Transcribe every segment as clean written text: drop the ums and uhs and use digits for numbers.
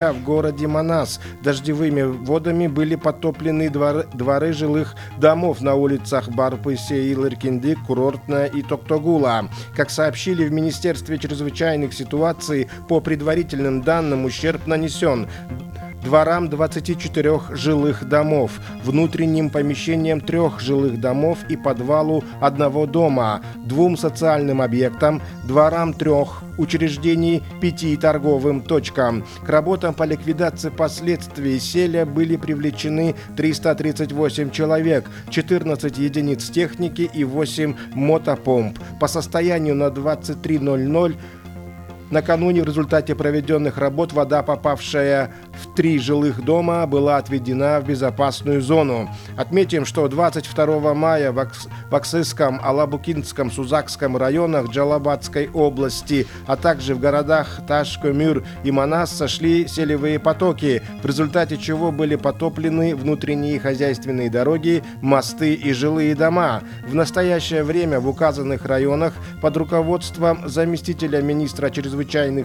В городе Манас дождевыми водами были потоплены дворы жилых домов на улицах Барпысе, Илыркинди, Курортная и Токтогула. Как сообщили в Министерстве чрезвычайных ситуаций, по предварительным данным ущерб нанесен дворам 24 жилых домов, внутренним помещениям 3 жилых домов и подвалу 1 дома, 2 социальным объектам, дворам 3 учреждений, 5 торговым точкам. К работам по ликвидации последствий селя были привлечены 338 человек, 14 единиц техники и 8 мотопомп. По состоянию на 23:00 накануне в результате проведенных работ вода, попавшая в 3 жилых дома, была отведена в безопасную зону. Отметим, что 22 мая в Аксысском, Алабукинском, Сузакском районах Джалабадской области, а также в городах Таш-Көмүр и Манас сошли селевые потоки, в результате чего были потоплены внутренние хозяйственные дороги, мосты и жилые дома. В настоящее время в указанных районах под руководством заместителя министра чрезвычайных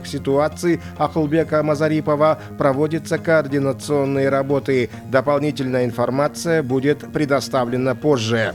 ситуаций Акылбека Мазарипова проводятся координационные работы. Дополнительная информация будет предоставлена позже.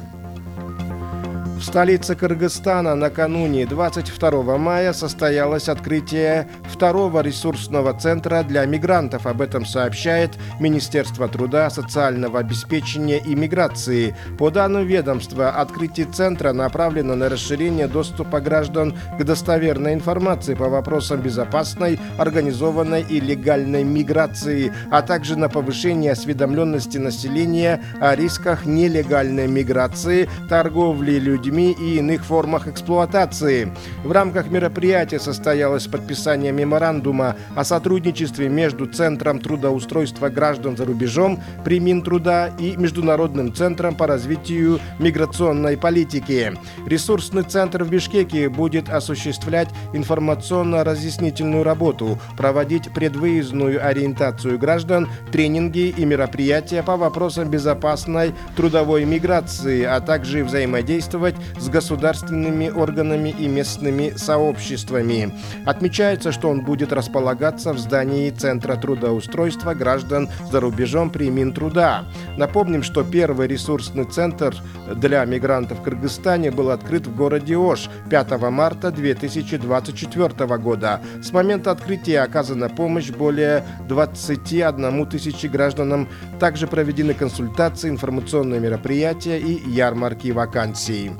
В столице Кыргызстана накануне 22 мая состоялось открытие 2-го ресурсного центра для мигрантов. Об этом сообщает Министерство труда, социального обеспечения и миграции. По данным ведомства, открытие центра направлено на расширение доступа граждан к достоверной информации по вопросам безопасной, организованной и легальной миграции, а также на повышение осведомленности населения о рисках нелегальной миграции, торговли людьми и иных формах эксплуатации. В рамках мероприятия состоялось подписание меморандума о сотрудничестве между Центром трудоустройства граждан за рубежом при Минтруда и Международным центром по развитию миграционной политики. Ресурсный центр в Бишкеке будет осуществлять информационно-разъяснительную работу, проводить предвыездную ориентацию граждан, тренинги и мероприятия по вопросам безопасной трудовой миграции, а также взаимодействовать с государственными органами и местными сообществами. Отмечается, что он будет располагаться в здании Центра трудоустройства граждан за рубежом при Минтруда. Напомним, что первый ресурсный центр для мигрантов в Кыргызстане был открыт в городе Ош 5 марта 2024 года. С момента открытия оказана помощь более 21 тысячи гражданам. Также проведены консультации, информационные мероприятия и ярмарки вакансий.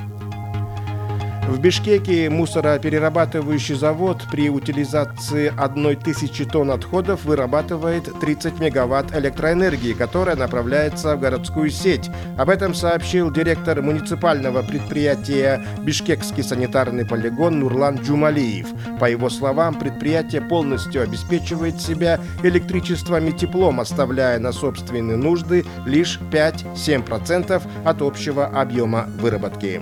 В Бишкеке мусороперерабатывающий завод при утилизации 1000 тонн отходов вырабатывает 30 мегаватт электроэнергии, которая направляется в городскую сеть. Об этом сообщил директор муниципального предприятия «Бишкекский санитарный полигон» Нурлан Джумалиев. По его словам, предприятие полностью обеспечивает себя электричеством и теплом, оставляя на собственные нужды лишь 5-7% от общего объема выработки.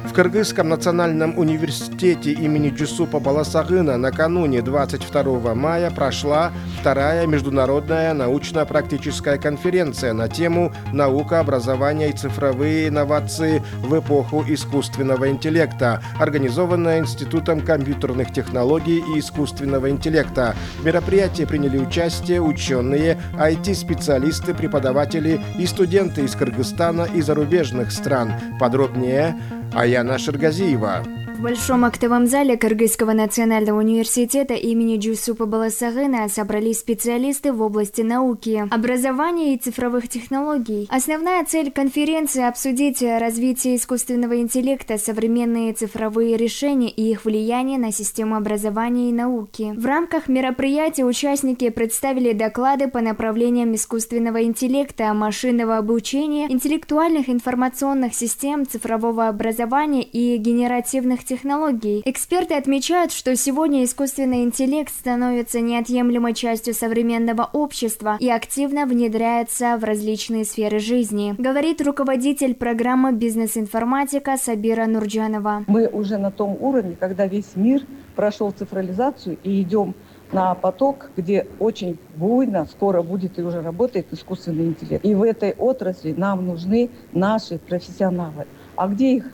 В Кыргызском национальном университете имени Джусупа Баласагына накануне 22 мая прошла 2-я международная научно-практическая конференция на тему «Наука, образование и цифровые инновации в эпоху искусственного интеллекта», организованная Институтом компьютерных технологий и искусственного интеллекта. В мероприятии приняли участие ученые, IT-специалисты, преподаватели и студенты из Кыргызстана и зарубежных стран. Подробнее Аяна Шергазиева. В Большом актовом зале Кыргызского национального университета имени Джусупа Баласагына собрались специалисты в области науки, образования и цифровых технологий. Основная цель конференции – обсудить развитие искусственного интеллекта, современные цифровые решения и их влияние на систему образования и науки. В рамках мероприятия участники представили доклады по направлениям искусственного интеллекта, машинного обучения, интеллектуальных информационных систем, цифрового образования и генеративных технологий. Эксперты отмечают, что сегодня искусственный интеллект становится неотъемлемой частью современного общества и активно внедряется в различные сферы жизни, говорит руководитель программы «Бизнес-информатика» Сабира Нурджанова. Мы уже на том уровне, когда весь мир прошел цифрализацию и идем на поток, где очень буйно, скоро будет и уже работает искусственный интеллект. И в этой отрасли нам нужны наши профессионалы. А где их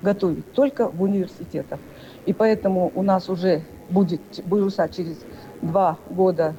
готовить? Только в университетах. И поэтому у нас уже будет, будут через 2 года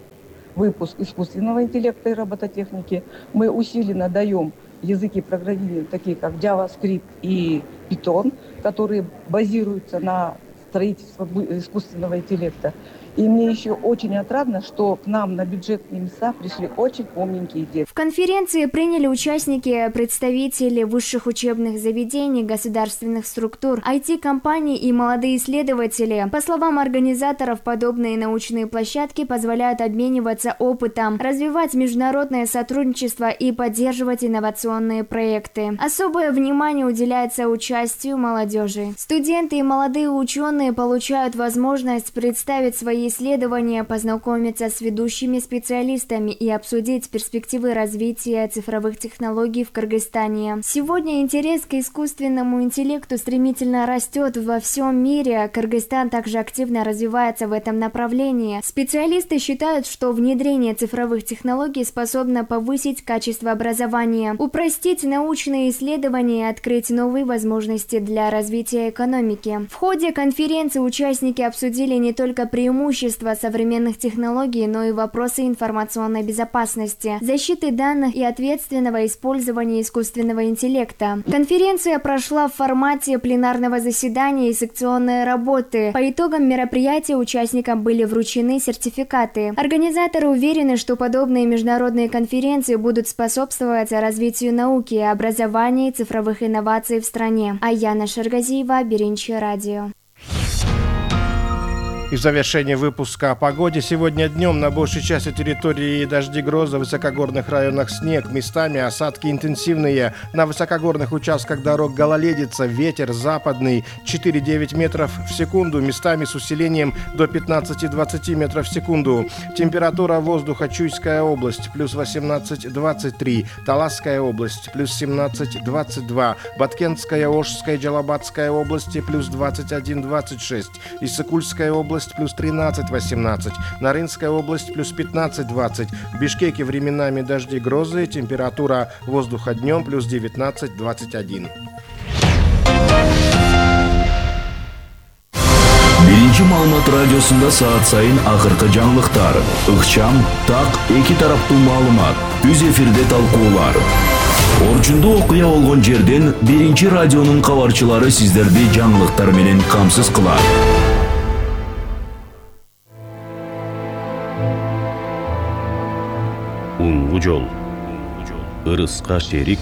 выпуск искусственного интеллекта и робототехники. Мы усиленно даем языки программирования, такие как JavaScript и Python, которые базируются на строительстве искусственного интеллекта. И мне еще очень отрадно, что к нам на бюджетные места пришли очень умненькие дети. В конференции приняли участники, представители высших учебных заведений, государственных структур, IT-компаний и молодые исследователи. По словам организаторов, подобные научные площадки позволяют обмениваться опытом, развивать международное сотрудничество и поддерживать инновационные проекты. Особое внимание уделяется участию молодежи. Студенты и молодые ученые получают возможность представить свои исследования, познакомиться с ведущими специалистами и обсудить перспективы развития цифровых технологий в Кыргызстане. Сегодня интерес к искусственному интеллекту стремительно растет во всем мире. Кыргызстан также активно развивается в этом направлении. Специалисты считают, что внедрение цифровых технологий способно повысить качество образования, упростить научные исследования и открыть новые возможности для развития экономики. В ходе конференции участники обсудили не только преимущества современных технологий, но и вопросы информационной безопасности, защиты данных и ответственного использования искусственного интеллекта. Конференция прошла в формате пленарного заседания и секционной работы. По итогам мероприятия участникам были вручены сертификаты. Организаторы уверены, что подобные международные конференции будут способствовать развитию науки, образования и цифровых инноваций в стране. Аяна Шаргазиева, Биринчи радио. И в завершении выпуска о погоде. Сегодня днем на большей части территории дожди, грозы, в высокогорных районах снег, местами осадки интенсивные. На высокогорных участках дорог гололедица, ветер западный 4-9 метров в секунду, местами с усилением до 15-20 метров в секунду. Температура воздуха: Чуйская область плюс 18-23, Таласская область плюс 17-22, Баткентская, Ошская, Джалабадская области плюс 21-26, Иссыкульская область плюс 13-18, Нарынская область плюс 15-20, в Бишкеке временами дожди, грозы, температура воздуха днем плюс 19-21. Биринчи маалымат радиосунда саат сайын акыркы жаңылыктар, ыкчам, так, эки тараптуу маалымат, түз эфирде талкуулар. Орчунду окуя болгон жерден Биринчи радионун кабарчылары сиздерди жаңылыктар менен камсыз кылат. Уңгу жол. Ырыска шерик,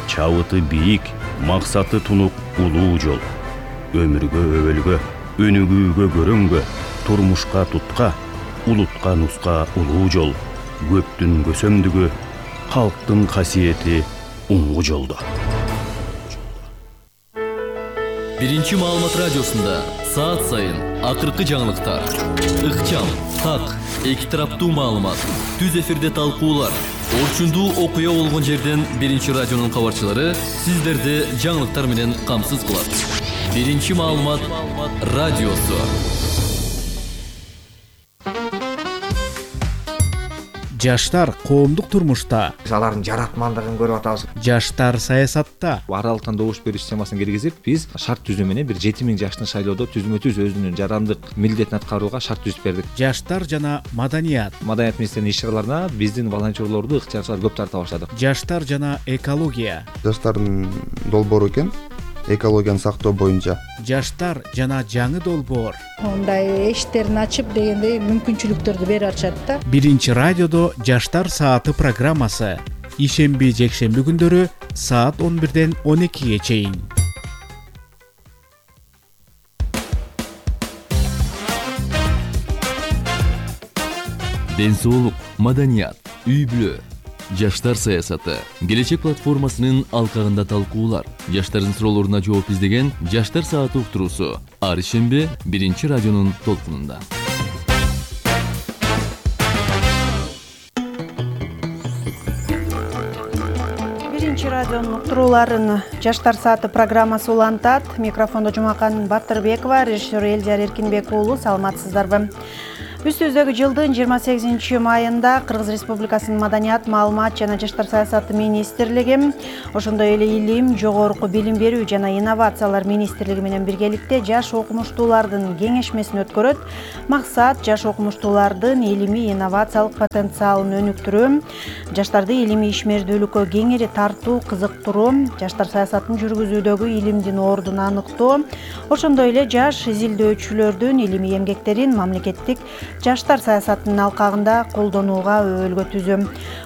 чабыты бийик, максаты тунук улуу жол. Өмүргө өбөлгө, өнүгүүгө көрөнгө, турмушка тутка, улутка нуска улуу жол. Көптүн көсөмдүгү, калктын касиети уңгу жолдо. Биринчи маалымат радиосунда саат сайын акыркы жаңылыктар, ыкчам, так, эки тараптуу маалымат, түз эфирде талкуулар. Орчундуу окуя болгон жерден Биринчи радионун кабарчылары сиздерди жаңылыктар менен камсыз кылат. Биринчи маалымат радиосу. Жаштар коомдук турмушта, алардын жаратмандыгын көрүп атабыз. жаштар саясатта, Аралыктан добуш берүү системасын киргизип, биз шарт түзүү менен бир 7000 жаштын шайлоодо түзмө-түз өзүнүн жарандык милдетин аткарууга шарт түзүп бердик. жаштар жана маданият, Маданият министринин иш-чараларына биздин волонтерлорду, ыктыярчыларды көп тарта баштадык. жаштар жана экология, Жаштардын долбоору экен, экологияны сактоо боюнча. жаштар жана жаңы долбоор. Мындай эшиктерин ачып дегендей мүмкүнчүлүктөрдү берип атышат да. Биринчи радиодо жаштар сааты программасы. Ишемби, жекшемби күндөрү саат 11ден 12ге чейин. Ден соолук, маданият, үй-бүлө, жаштар саясаты, келечек платформасынын алкагында талкуулар, жаштардын суроолоруна жооп издеген жаштар сааты уктуруусу ар ишемби Биринчи радионун толкунунда. Биринчи радионун уктурууларын жаштар сааты программасы улантат. Микрофондо Жумакан Батырбекова, режиссер Элдияр Эркинбек уулу. Саламатсыздарбы? Үстүбүздөгү жылдын 28-майында Кыргыз Республикасынын Маданият, маалымат жана жаштар саясаты министрлиги, ошондой эле Илим, жогорку билим берүү жана инновациялар министрлиги менен биргеликте жаш окумуштуулардын кеңешмесин өткөрөт. Максат жаш окумуштуулардын илимий инновациялык потенциалын өнүктүрүү, жаштарды илимий ишмердүүлүккө кеңири тартуу, кызыктыруу, жаштар саясатын жүргүзүүдөгү илимдин ордун аныктоо, ошондой эле жаш изилдөөчүлөрдүн илимий эмгектерин мамлекеттик жаштар саясатынын алкагында колдонууга өбөлгөтүүзү.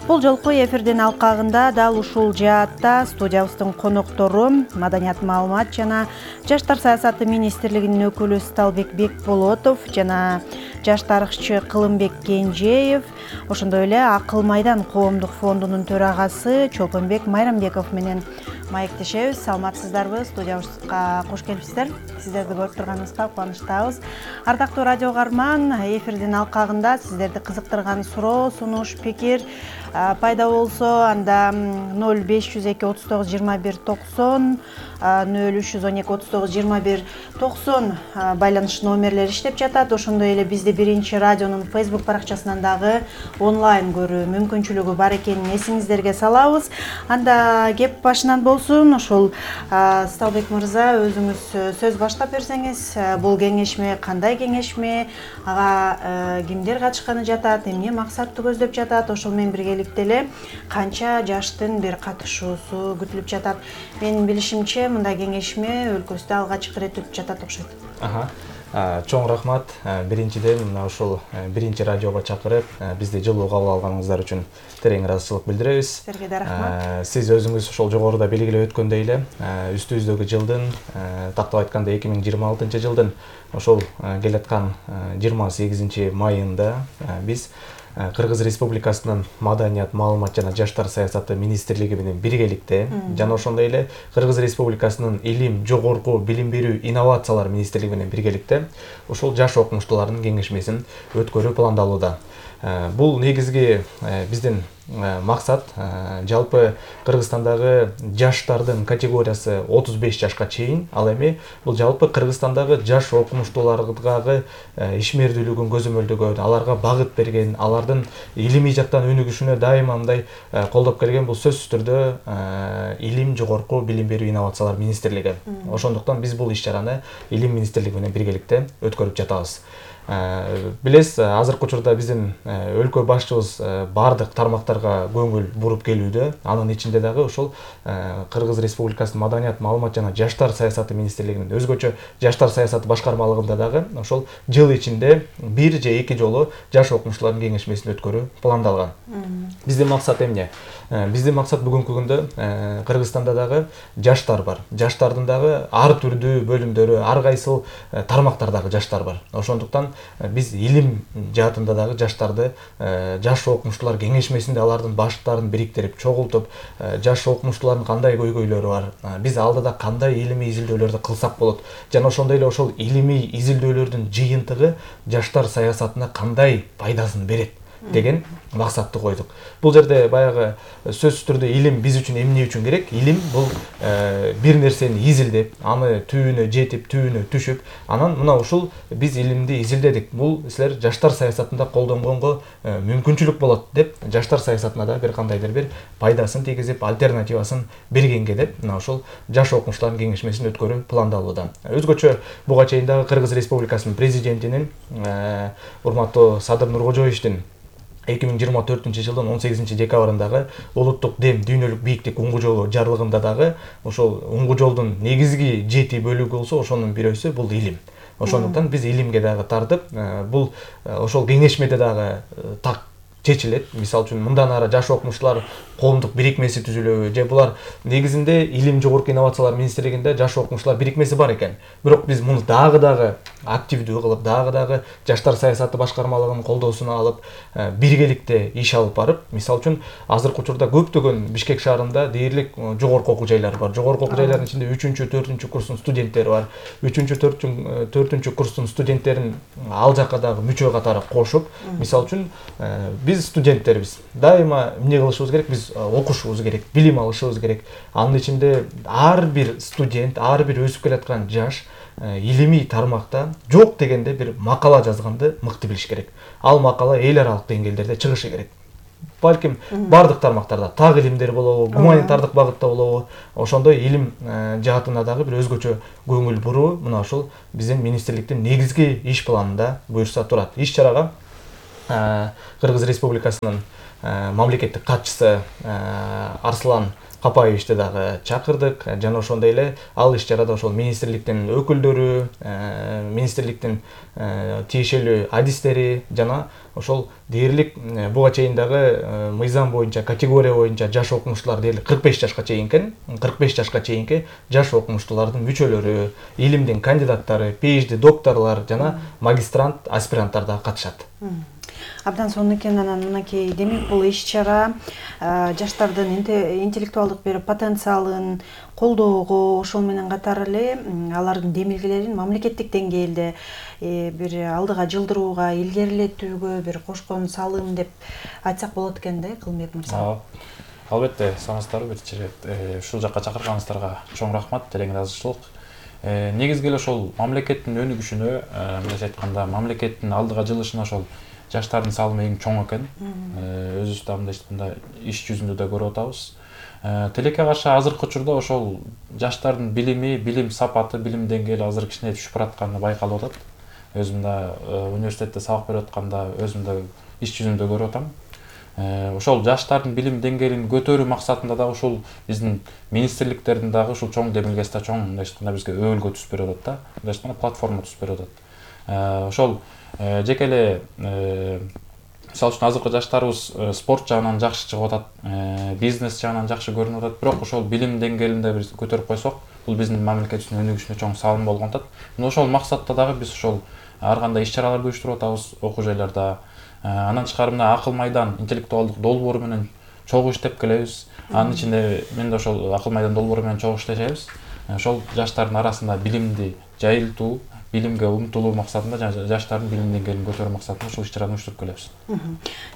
Бул жолку эфирдин алкагында дал ушул жаатта студиябыздын коноктору Маданият, маалымат жана жаштар саясаты министрлигинин өкүлү Сталбек Бекболотов жана жаш тарыхчы Кылымбек Кенжеев, ошондой эле Акыл Майдан коомдук фондунун төрагасы Чолпонбек Майрамбеков менен маектешебиз. Саламатсыздарбы? Студиябызга кош келипсиздер. Сиздерди көрүп турганыбызга кубанычтабыз. Ардактуу радио каарман, эфирдин алкагында сиздерди кызыктырган суроо, сунуш, пикир пайда болсо, анда 0502 39 21 90, 0312 39 21 90 байланыш номерлери иштеп жатат. Ошондой эле бизди биринчи радионун Facebook баракчасынан дагы онлайн көрүү мүмкүнчүлүгү бар экенин эсиңиздерге салабыз. Анда кеп башынан болсун. Ошол Сталбек мырза, өзүңүз сөз баштап берсеңиз, бул кеңешме кандай кеңешме, ага кимдер катышканы жатат, эмне максатты көздөп жатат, ошол менен биргеликте эле канча жаштын бир катышуусу күтүлүп жатат. Менин билишимче, мындай кеңешме өлкөбүздө алгачкы ирет өтүп жатат окшойт. Чоң рахмат. Биринчиден мына ушул биринчи радиого чакырып, бизди жылуу кабыл алганыңыздар үчүн терең ыраазычылык билдиребиз. Силерге да рахмат. Сиз өзүңүз ошол жогоруда белгилеп өткөндөй эле, үстүбүздөгү жылдын, тактап айтканда 2026 жылдын ошол келаткан 28 майында биз Кыргыз Республикасынын Маданият, маалымат жана жаштар саясаты министрлиги менен биргеликте жана ошондой эле Кыргыз Республикасынын Илим, жогорку билим берүү, инновациялар министрлиги менен биргеликте ошол жаш окумуштуулардын кеңешмесин өткөрүү пландалууда. Бул негизги биздин максат жалпы Кыргызстандагы жаштардын категориясы 35 жашка чейин, ал эми бул жалпы Кыргызстандагы жаш окумуштууларга ишмердүүлүгүн көзөмөлдөгөн, аларга багыт берген, алардын илимий жактан өнүгүшүнө дайыма мындай колдоп келген бул сөзсүз түрдө Илим, жогорку билим берүү, инновациялар министрлиги. Ошондуктан биз бул иш-чараны Илим министрлиги менен биргеликте өткөрүп жатабыз. Билесиз, азыркы учурда биздин өлкө башчыбыз бардык тармактарга көңүл буруп келүүдө. Анын ичинде дагы ошол Кыргыз Республикасынын Маданият, маалымат жана жаштар саясаты министрлигинин өзгөчө жаштар саясаты башкармалыгында дагы ошол жыл ичинде бир же эки жолу жаш окумуштуулардын кеңешмесин өткөрүү пландалган. Биздин максат эмне? Биздин максат бүгүнкү күндө Кыргызстанда дагы жаштар бар. Жаштардын дагы ар түрдүү бөлүмдөрү, ар кайсыл тармактардагы жаштар бар. Ошондуктан биз илим жаатында дагы жаштарды жаш окумуштуулар кеңешмесинде алардын баштарын бириктирип, чогултуп, жаш окумуштуулардын кандай көйгөйлөрү бар, биз алдыда кандай илимий изилдөөлөрдү кылсак болот, жана ошондой эле ошол илимий изилдөөлөрдүн жыйынтыгы жаштар саясатына кандай пайдасын берет деген максатты койдук. Бул жерде баягы сөзсүз түрдө илим биз үчүн эмне үчүн керек? Илим бул бир нерсени изилдеп, аны түбүнө жетип, түбүнө түшүп, анан мына ушул биз илимди изилдедик. Бул силер жаштар саясатында колдонгонго мүмкүнчүлүк болот деп, жаштар саясатына да бир кандайдыр бир пайдасын тийгизип, альтернативасын бергенге деп, мына ушул жаш окумуштуулардын кеңешмесин өткөрүү пландалууда. Өзгөчө буга чейин дагы Кыргыз Республикасынын президентинин урматтуу Садыр Нуркожоевичтин 2024 жылдын 18 декабрындагы улуттук дем, дүйнөлүк бийиктик уңгу жолу жарлыгында дагы ошол уңгу жолдун негизги 7 бөлүгү болсо, ошонун бирөөсү бул илим. Ошондуктан биз илимге дагы тартып, бул ошол кеңешмеде дагы так чечилет. Мисалы үчүн мындан ары жаш окумуштуулар коомдук бирикмеси түзүлөбү же булар негизинде Илим, жогорку инновациялар министрлигинде жаш окумуштуулар бирикмеси бар экен. Бирок биз муну дагы активдүү кылып, дагы жаштар саясаты башкармалыгынын колдоосуна алып, биргеликте иш алып барып, мисалы үчүн азыркы учурда көптөгөн Бишкек шаарында дээрлик жогорку окуу жайлары бар. Жогорку окуу жайлардын ичинде 3-4 курстун студенттери бар. 3-4 курстун студенттерин ал жакка дагы мүчө катары кошуп, мисалы үчүн биз биз студенттербиз. Дайыма эмне кылышыбыз керек? Биз окушубуз керек, билим алышыбыз керек. Анын ичинде ар бир студент, ар бир өсүп келаткан жаш илимий тармакта жок дегенде бир макала жазганды мыкты билиш керек. Ал макала эл аралык деңгээлдерде чыгышы керек. Балким бардык тармактарда, так илимдер болобу, гуманитардык багытта болобу, ошондой илим жаатына дагы бир өзгөчө көңүл буруу мына ушул биздин министрликтин негизги иш планында буюрса турат. Иш чарага Кыргыз Республикасынын мамлекеттик катчысы Арслан Капаевичти дагы чакырдык жана ошондой эле ал иш чарада ошол министрликтин өкүлдөрү, министрликтин тиешелүү адистери жана ошол дээрлик буга чейин дагы мыйзам боюнча, категория боюнча жаш окумуштуулар дээрлик 45 жашка чейинки 45 жашка чейинки жаш окумуштуулардын мүчөлөрү, илимдин кандидаттары, PhD докторлор жана магистрант, аспиранттар дагы катышат. Абдан сонун экен. Анан мынакей демек бул иш чара жаштардын интеллектуалдык бир потенциалын колдоого, ошол менен катар эле алардын демилгелерин мамлекеттик деңгээлде бир алдыга жылдырууга, илгерилетүүгө бир кошкон салым деп айтсак болот экен да, Кылымбек мырза. Албетте, санаңыздарбы биринчи ирет ушул жакка чакырганыңыздарга чоң рахмат, терең ыраазычылык. Негизги эле ошол мамлекеттин өнүгүшүнө, мындайча айтканда, мамлекеттин алдыга жылышына ошол жаштардын салымы эң чоң экен. Өзүбүз да мындай айтканда иш жүзүндө да көрүп атабыз. Тилекке каршы азыркы учурда ошол жаштардын билими, билим сапаты, билим деңгээли азыр кичине түшүп баратканы байкалып атат. Өзүм да университетте сабак берип атканда өзүм да иш жүзүндө көрүп атам. Ошол жаштардын билим деңгээлин көтөрүү максатында да ушул биздин министрликтердин дагы ушул чоң демилгеси да чоң мындай айтканда бизге өбөлгө түзүп берип атат да. Мындай айтканда платформа түзүп берип атат. Ошол жеке эле мисалы үчүн азыркы жаштарыбыз спорт жагынан жакшы чыгып атат, бизнес жагынан жакшы көрүнүп атат, бирок ошол билим деңгээлинде бир көтөрүп койсок, бул биздин мамлекетибиздин өнүгүшүнө чоң салым болгон атат. Мына ошол максатта дагы биз ошол ар кандай иш чараларды уюштуруп атабыз окуу жайларда. Анан тышкары мына Акыл майдан интеллектуалдык долбоору менен чогуу иштеп келебиз. Анын ичинде мен да ошол Акыл майдан долбоору менен чогуу иштешебиз. Ошол жаштардын арасында билимди жайылтуу, билимге умтулуу максатында жана жаштардын билим деңгээлин көтөрүү максатында ушул иш-чараны уюштуруп келебиз.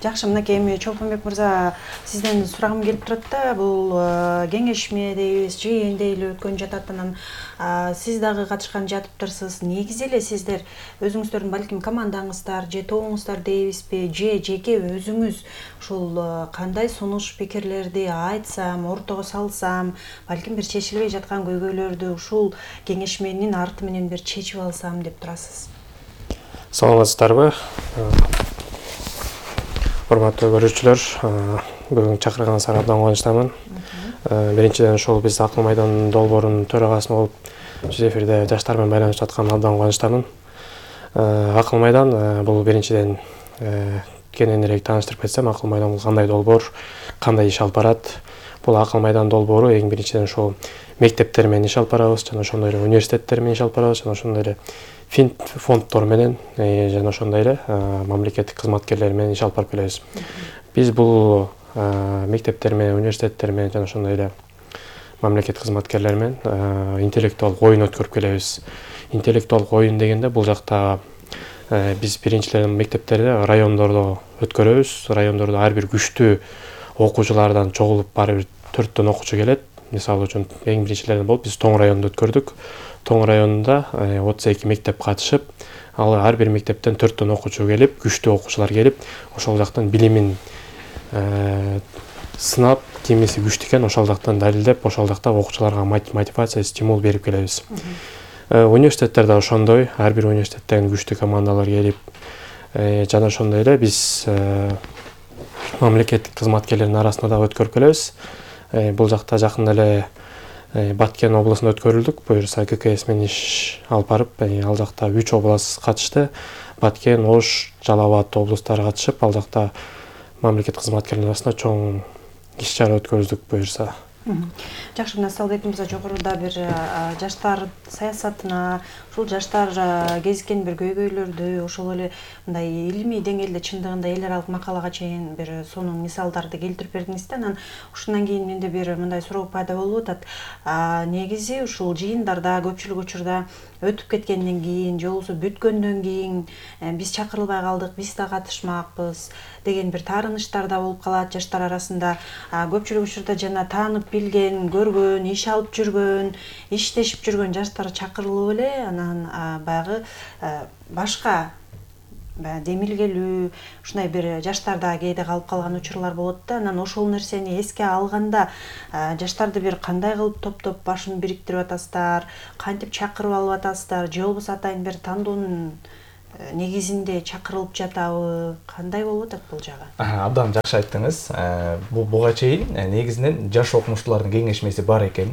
Жакшы, мынакей эми Чолпонбек мырза, сизден сурагым келип турат да, бул кеңешме дейбиз, жыйын дейли өткөн жатат. Анан сиз дагы катышкан жатыптырсыз. Негизи эле сиздер өзүңүздөрдүн балким командаңыздар же тобуңуздар дейбизби, же жеке өзүңүз ушул кандай сунуш пикирлерди айтсам, ортого салсам, балким бир чечилбей жаткан көйгөйлөрдү ушул кеңешменин арты менен бир чечип алсам деп турасыз. Саламатсыздарбы? Урматтуу көрүүчүлөр, бүгүн чакырганыңыздарга абдан кубанычтамын. Биринчиден ушул биз Акыл майдан долбоорунун төрагасы болуп жүз эфирде жаштар менен байланышып атканыма абдан кубанычтамын. Акыл майдан бул биринчиден кененирээк тааныштырып кетсем, Акыл майдан бул кандай долбоор, кандай иш алып барат? Бул Акыл майдан долбоору эң биринчиден ушул мектептер менен иш алып барабыз, жана ошондой эле университеттер менен иш алып барабыз, жана ошондой эле фонддор менен жана ошондой эле мамлекеттик кызматкерлер менен иш алып барып келебиз. Биз бул мектептер менен, университеттер менен жана ошондой эле мамлекеттик кызматкерлер менен интеллектуалдык оюн өткөрүп келебиз. Интеллектуалдык оюн дегенде бул жакта биз биринчиден мектептерде, райондордо өткөрөбүз. Райондордо ар бир күчтүү окуучулардан чогулуп барып 4төн окуучу келет. Мисалы үчүн эң биринчилерден болуп биз Тоң районунда өткөрдүк. Тоң районунда 32 мектеп катышып, ал ар бир мектептен 4төн окуучу келип, күчтүү окуучулар келип, ошол жактан билимин сынап, кимиси күчтүү экен, ошол жактан далилдеп, ошол жакта окуучуларга мотивация, стимул берип келебиз. Университеттерде ошондой, ар бир университеттен күчтүү командалар келип, жана ошондой эле биз мамлекеттик кызматкерлердин арасында да өткөрүп келебиз. Бул жакта жакында эле Баткен облусунда өткөрүлдүк. Буюрса ККС менен иш алып барып, ал жакта 3 област катышты. Баткен, Ош, Жалал Абад облустары катышып, ал жакта мамлекеттик кызматкерлердин арасында чоң иш чара өткөрдүк буюрса. Жакшы, мына Салбек мырза жогоруда бир жаштар саясатына, ушул жаштар кезиккен бир көйгөйлөрдү, ошол эле мындай илимий деңгээлде чындыгында эл аралык макалага чейин бир сонун мисалдарды келтирип бердиңиз да. Анан ушундан кийин менде бир мындай суроо пайда болуп атат. Негизи ушул жыйындарда көпчүлүк учурда өтүп кеткенден кийин же болбосо бүткөндөн кийин биз чакырылбай калдык, биз да катышмакпыз деген бир таарыныштар да болуп калат жаштар арасында. Көпчүлүк учурда жана таанып билген, көргөн, иш алып жүргөн, иштешип жүргөн жаштар чакырылып эле анан баягы башка демилгелүү ушундай бир жаштарда кээде калып калган учурлар болот да. Анан ошол нерсени эске алганда жаштарды бир кандай кылып топтоп башын бириктирип атасыздар, кантип чакырып алып атасыздар, же болбосо атайын бир тандоонун негизинде чакырылып жатабы, кандай болуп атат бул жагы? Абдан жакшы айттыңыз. Буга чейин негизинен жаш окумуштуулардын кеңешмеси бар экен.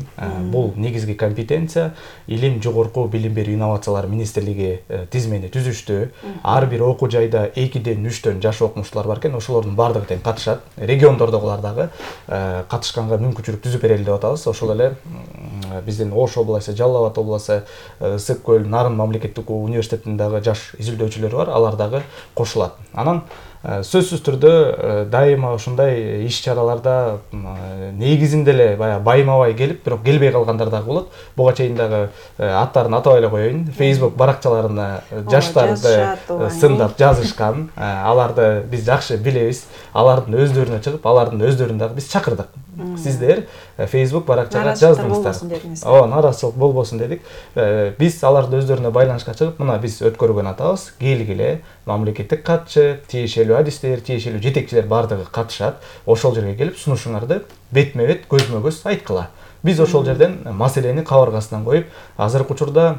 Бул негизги компетенция илим, жогорку билим берүү инновациялар министрлиги тизмени түзүштү. Ар бир окуу жайда 2ден 3төн жаш окумуштуулар бар экен. Ошолордун бардыгы тең катышат. Региондордогулар дагы катышканга мүмкүнчүлүк түзүп берели деп атабыз. Ошол эле биздин Ош областы, Жалал Абад областы, Ысык көл, Нарын мамлекеттик университетинин дагы жаш изилдөөчүлөрү бар, алар дагы кошулат. Анан сөзсүз түрдө дайыма ушундай иш-чараларда негизинде эле баягы байма-бай келип, бирок келбей калгандар дагы болот. Буга чейин дагы аттарын атабай эле коеюн. Facebook баракчаларына жаштарды сындап жазышкан. Аларды биз жакшы билебиз. Алардын өздөрүнө чыгып, алардын өздөрүн дагы биз чакырдык. Сиздер Facebook баракчага жаздыңыздар. Нараазычылык болбосун дедик. Биз аларды өздөрүнө байланышка чыгып, мына биз өткөргөн атабыз, келгиле, мамлекеттик катчы, тиешелүү адистер, тиешелүү жетекчилер бардыгы катышат. Ошол жерге келип сунушуңарды бетме-бет, көзмө-көз айткыла. Биз ошол жерден маселени кабыргасынан коюп, азыркы учурда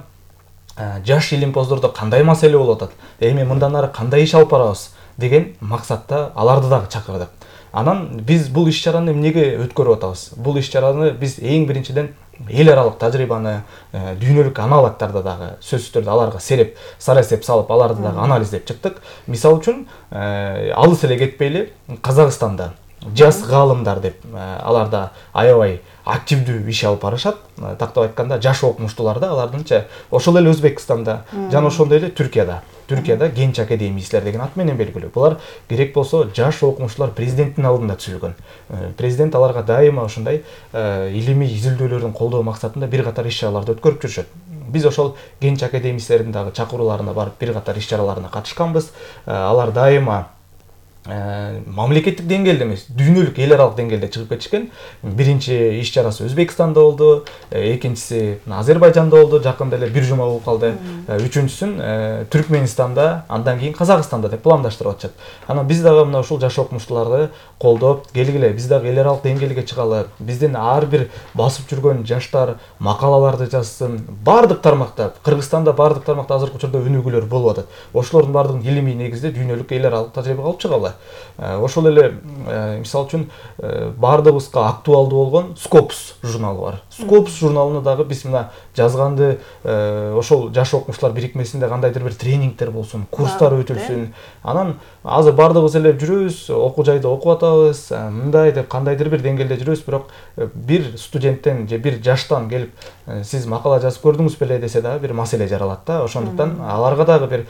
жаш илимпоздордо кандай маселе болуп атат, эми мындан ары кандай иш алып барабыз деген максатта аларды дагы чакырдык. Анан биз бул иш-чараны эмнеге өткөрүп атабыз? Бул иш-чараны биз эң биринчиден эл аралык тажрыйбаны, дүйнөлүк аналогдарды дагы сөзсүз түрдө аларга сарасеп салып, аларды дагы анализдеп чыктык. Мисалы үчүн, алыс эле кетпейли, Казакстанда жас гаалымдар деп аларда аябай активдүү иш алып барышат. Тактап айтканда, жаш окумуштууларда алардынча ошол эле Өзбекстанда жана ошондой эле Түркияда Генч академиистлер деген ат менен белгилүү. Булар керек болсо жаш окумуштуулар президенттин алдында түзүлгөн. Президент аларга дайыма ошондой илимий изилдөөлөрдүн колдоо максатында бир катар иш-чараларды өткөрүп жүрүшөт. Биз ошол Генч академиистлердин дагы чакырууларына барып бир катар иш-чараларына катышканбыз. Алар дайыма мамлекеттик деңгээлде эмес, дүйнөлүк эл аралык деңгээлде чыгып кетишкен. Биринчи иш-чарасы Өзбекстанда болду, экинчиси Азербайжанда болду, жакында эле бир жума болуп калды. Үчүнчүсүн Түркменистанда, андан кийин Казакстанда деп пландаштырып атышат. Анан биз дагы мына ушул жаш окумуштууларды колдоп, келгиле, биз дагы эл аралык деңгээлге чыгалы. Биздин ар бир басып жүргөн жаштар макалаларды жазсын. Бардык тармакта, Кыргызстанда бардык тармакта азыркы учурда өнүгүүлөр болуп атат. Ошолордун бардыгын илимий негизде дүйнөлүк эл аралык тажрыйбага алып чыгалы. Ошол эле мисалы үчүн бардыгыбызга актуалдуу болгон Scopus журналы бар. Scopus журналына дагы биз мына жазганды ошол жаш окумуштуулар бирикмесинде кандайдыр бир тренингдер болсун, курстар өтүлсүн. Анан азыр бардыгыбыз эле жүрөбүз, окуу жайда окуп атабыз, мындай деп кандайдыр бир деңгээлде жүрөбүз, бирок бир студенттен же бир жаштан келип сиз макала жазып көрдүңүз беле десе дагы бир маселе жаралат да. Ошондуктан аларга дагы бир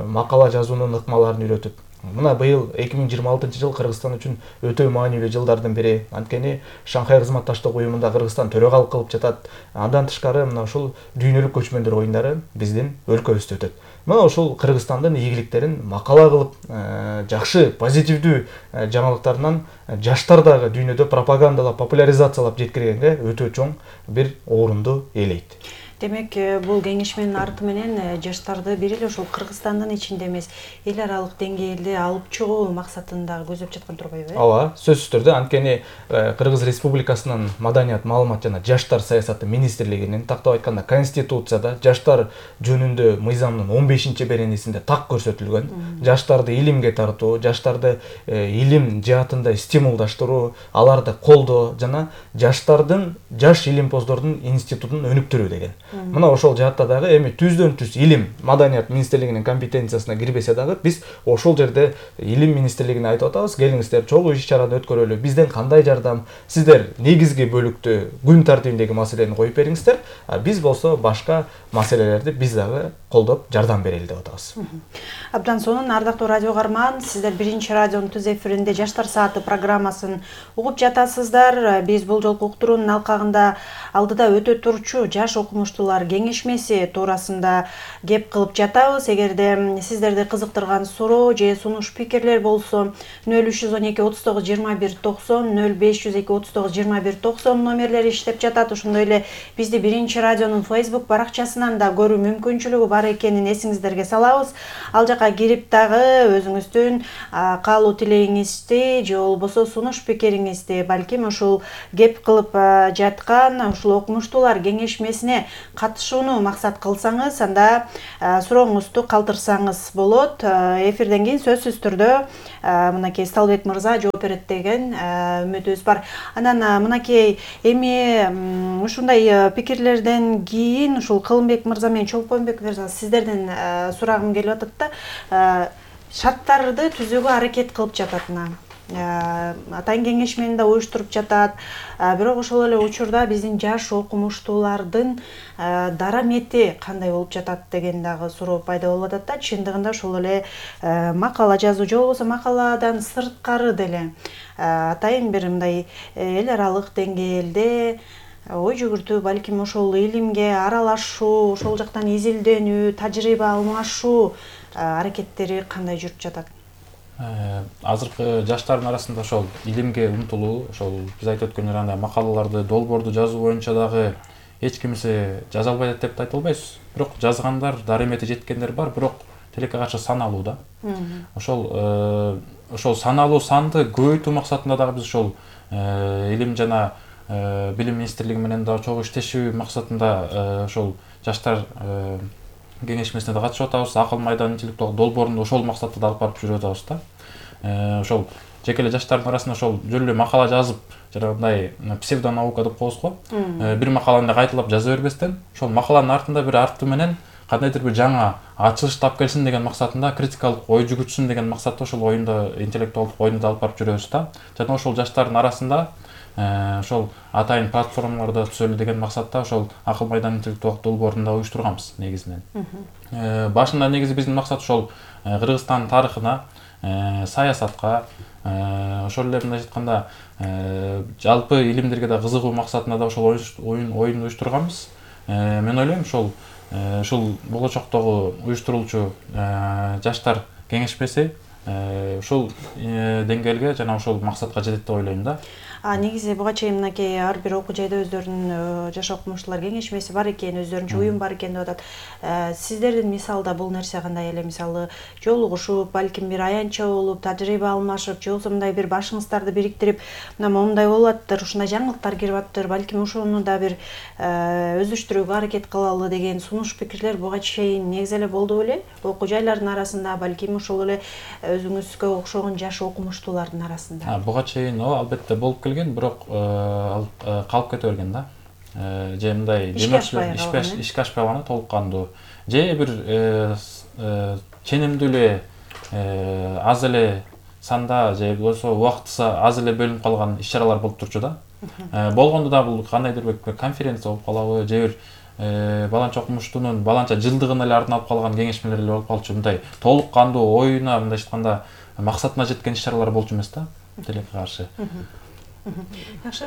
макала жазуунун ыкмаларын үйрөтүп, мына быйыл 2026 жыл Кыргызстан үчүн өтө маанилүү жылдардын бири. Анткени Шанхай кызматташтык уюмунда Кыргызстан төрөгалык кылып жатат. Андан тышкары мына ушул дүйнөлүк көчмөндөр оюндары биздин өлкөбүздө өтөт. Мына ушул Кыргызстандын ийгиликтерин макала кылып, жакшы, позитивдүү жаңылыктарынан жаштар дагы дүйнөдө пропагандалап, популяризациялап жеткиргенге өтө чоң бир орунду ээлейт. Демек, бул кеңешменин арты менен жаштарды бир эле ошол Кыргызстандын ичинде эмес, эл аралык деңгээлде алып чыгуу максатында көздөп жаткан турбайбы? Ооба, сөзсүз түрдө. Анткени Кыргыз Республикасынын Маданият, маалымат жана жаштар саясаты министрлигинин тактап айтканда Конституцияда жаштар жөнүндө мыйзамдын 15-беренесинде так көрсөтүлгөн. Жаштарды илимге тартуу, жаштарды илим жаатында стимулдаштыруу, аларды колдоо жана жаштардын, жаш илимпоздордун институтун өнүктүрүү деген. Мына ошол жаатта дагы эми түздөн-түз илим Маданият министрлигинин компетенциясына кирбесе дагы биз ошол жерде илим министрлигине айтып атабыз, келиңиздер, чогуу иш-чараны өткөрөлү, бизден кандай жардам, сиздер негизги бөлүктү күн тартибиндеги маселени коюп бериңиздер, биз болсо башка маселелерди биз дагы колдоп жардам берели деп атабыз. Абдан сонун, ардактуу радио каарман, сиздер биринчи радионун түз эфиринде Жаштар сааты программасын угуп жатасыздар. Биз бул жолку уктуруунун алкагында алдыда өтө турчу жаш окумуштуу окумуштуулар кеңешмеси туурасында кеп кылып жатабыз. Эгерде сиздерди кызыктырган суроо же сунуш пикирлер болсо 0312 39 21 90 0502 39 21 90 номерлери иштеп жатат. Ошондой эле бизди Биринчи радионун Facebook баракчасынан да көрүү мүмкүнчүлүгү бар экенин эсиңиздерге салабыз. Ал жака кирип дагы өзүңүздүн каалоо тилегиңизди же болбосо сунуш пикириңизди балким ушул кеп кылып жаткан ушул окумуштуулар кеңешмесине катышууну максат кылсаңыз, анда сурооңузду калтырсаңыз болот. Эфирден кийин сөзсүз түрдө мынакей Сталбек мырза жооп берет деген үмүтүбүз бар. Анан мынакей эми ушундай пикирлерден кийин ушул Кылымбек мырза менен Чолпонбек мырза сиздерден сурагым келип атат да, шарттарды түзүүгө аракет кылып жатат мына. Атайын кеңешмени да уюштуруп жатат. Бирок ошол эле учурда биздин жаш окумуштуулардын дарамети кандай болуп жатат деген дагы суроо пайда болуп атат да. Чындыгында ошол эле макала жазуу же болбосо макаладан сырткары деле атайын бир мындай эл аралык деңгээлде ой жүгүртүү, балким ошол илимге аралашуу, ошол жактан изилденүү, тажрыйба алмашуу аракеттери кандай жүрүп жатат? Азыркы жаштардын арасында ошол илимге умтулуу, ошол биз айтып өткөндөй андай макалаларды, долбоорду жазуу боюнча дагы эч кимиси жаза албайт деп айта албайбыз. Бирок жазгандар, дарамети жеткендер бар, бирок тилекке каршы саналуу да. Ошол саналуу санды көбөйтүү максатында дагы биз ошол илим жана билим министрлиги менен дагы чогуу иштешүү максатында ошол жаштар кеңешмесине да катышып атабыз. Акыл майдан интеллектуалдык долбоорун ошол максатта да алып барып жүрүп атабыз да. Ошол жеке эле жаштардын арасында ошол жөн эле макала жазып, жанагындай псевдонаука деп коебуз го. Бир макаланы кайталап жаза бербестен, ошол макаланын артында бир арты менен кандайдыр бир жаңа ачылыш тап келсин деген максатында, критикалык ой жүгүртсүн деген максатта ошол оюнда, интеллектуалдык оюнду да алып барып жүрөбүз да. Жана ошол жаштардын арасында ошол атайын платформаларда түзөлү деген максатта ошол Акыл майдан интеллектуалдык долбоорун да уюштурганбыз негизинен. Башында негизи биздин максат ошол Кыргызстан тарыхына, саясатка, ошол эле мындай айтканда жалпы илимдерге да кызыгуу максатында да ошол оюн уюштурганбыз. Мен ойлойм ушул болочоктогу уюштурулчу жаштар кеңешмеси ушул деңгээлге жана ошол максатка жетет деп ойлойм да. Негизи буга чейин мынакей ар бир окуу жайда өздөрүнүн жаш окумуштуулар кеңешмеси бар экен, өздөрүнчө уюм бар экен деп атат. Сиздердин мисалда бул нерсе кандай эле, мисалы жолугушуп, балким бир аянтча болуп, тажрыйба алмашып, же болбосо мындай бир башыңыздарды бириктирип, мына момундай болуп атыптыр, ушундай жаңылыктар кирип атыптыр, балким ошону да бир өздөштүрүүгө аракет кылалы деген сунуш пикирлер буга чейин негизи эле болду беле? Окуу жайлардын арасында, балким ошол эле өзүңүзгө окшогон жаш окумуштуулардын арасында. Буга чейин албетте болуп келген, бирок калып кете берген да. Же мындай ишке ашпай калган толук кандуу. Же бир ченемдүү эле аз эле санда же болбосо убактысы аз эле бөлүнүп калган иш-чаралар болуп турчу да. Болгондо да бул кандайдыр бир конференция болуп калабы, же бир баланча окумуштуунун баланча жылдыгына эле арналып калган кеңешмелер эле болуп калчу. Мындай толук кандуу оюна, мындай айтканда максатына жеткен иш-чаралар болчу эмес да, тилекке каршы. Жакшы.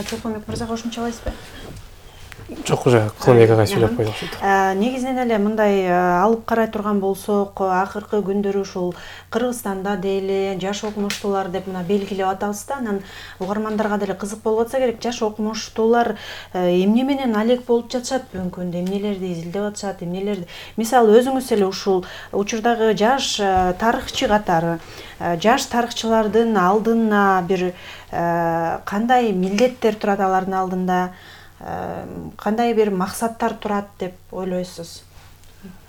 Чолпонбек мырза кошумчалайсызбы? Жок, уже Кылымбек агай сүйлөп койду окшойт. Негизинен эле мындай алып карай турган болсок, акыркы күндөрү ушул Кыргызстанда деле жаш окумуштуулар деп мына белгилеп атабыз да. Анан угармандарга деле кызык болуп атса керек, жаш окумуштуулар эмне менен алек болуп жатышат бүгүнкү күндө, эмнелерди изилдеп атышат, эмнелерди. Мисалы өзүңүз эле ушул учурдагы жаш тарыхчы катары, жаш тарыхчылардын алдына бир кандай милдеттер турат алардын алдында? Кандай бир максаттар турат деп ойлойсуз?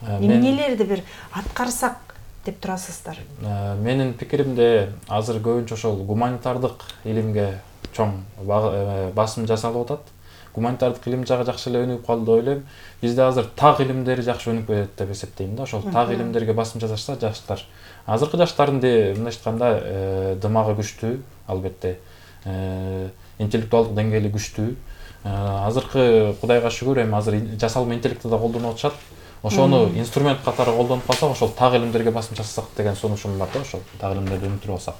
Эмнелерди бир аткарсак деп турасыздар? Менин пикиримде азыр көбүнчө ошол гуманитардык илимге чоң басым жасалып атат. Гуманитардык илим жагы жакшы эле өнүгүп калды деп ойлойм. Бизде азыр так илимдери жакшы өнүгүп кетет деп эсептейм да. Ошол так илимдерге басым жасашса жаштар. Азыркы жаштардын мындай айтканда дымагы күчтүү, албетте. Интеллектуалдык деңгээли күчтүү. Азыркы Кудайга шүгүр эми азыр жасалма интеллектти да колдонуп атышат. Ошону инструмент катары колдонуп калсак, ошол так илимдерге басым жасасак деген сунушум бар да, ошол так илимдерди өнүктүрүп алсак.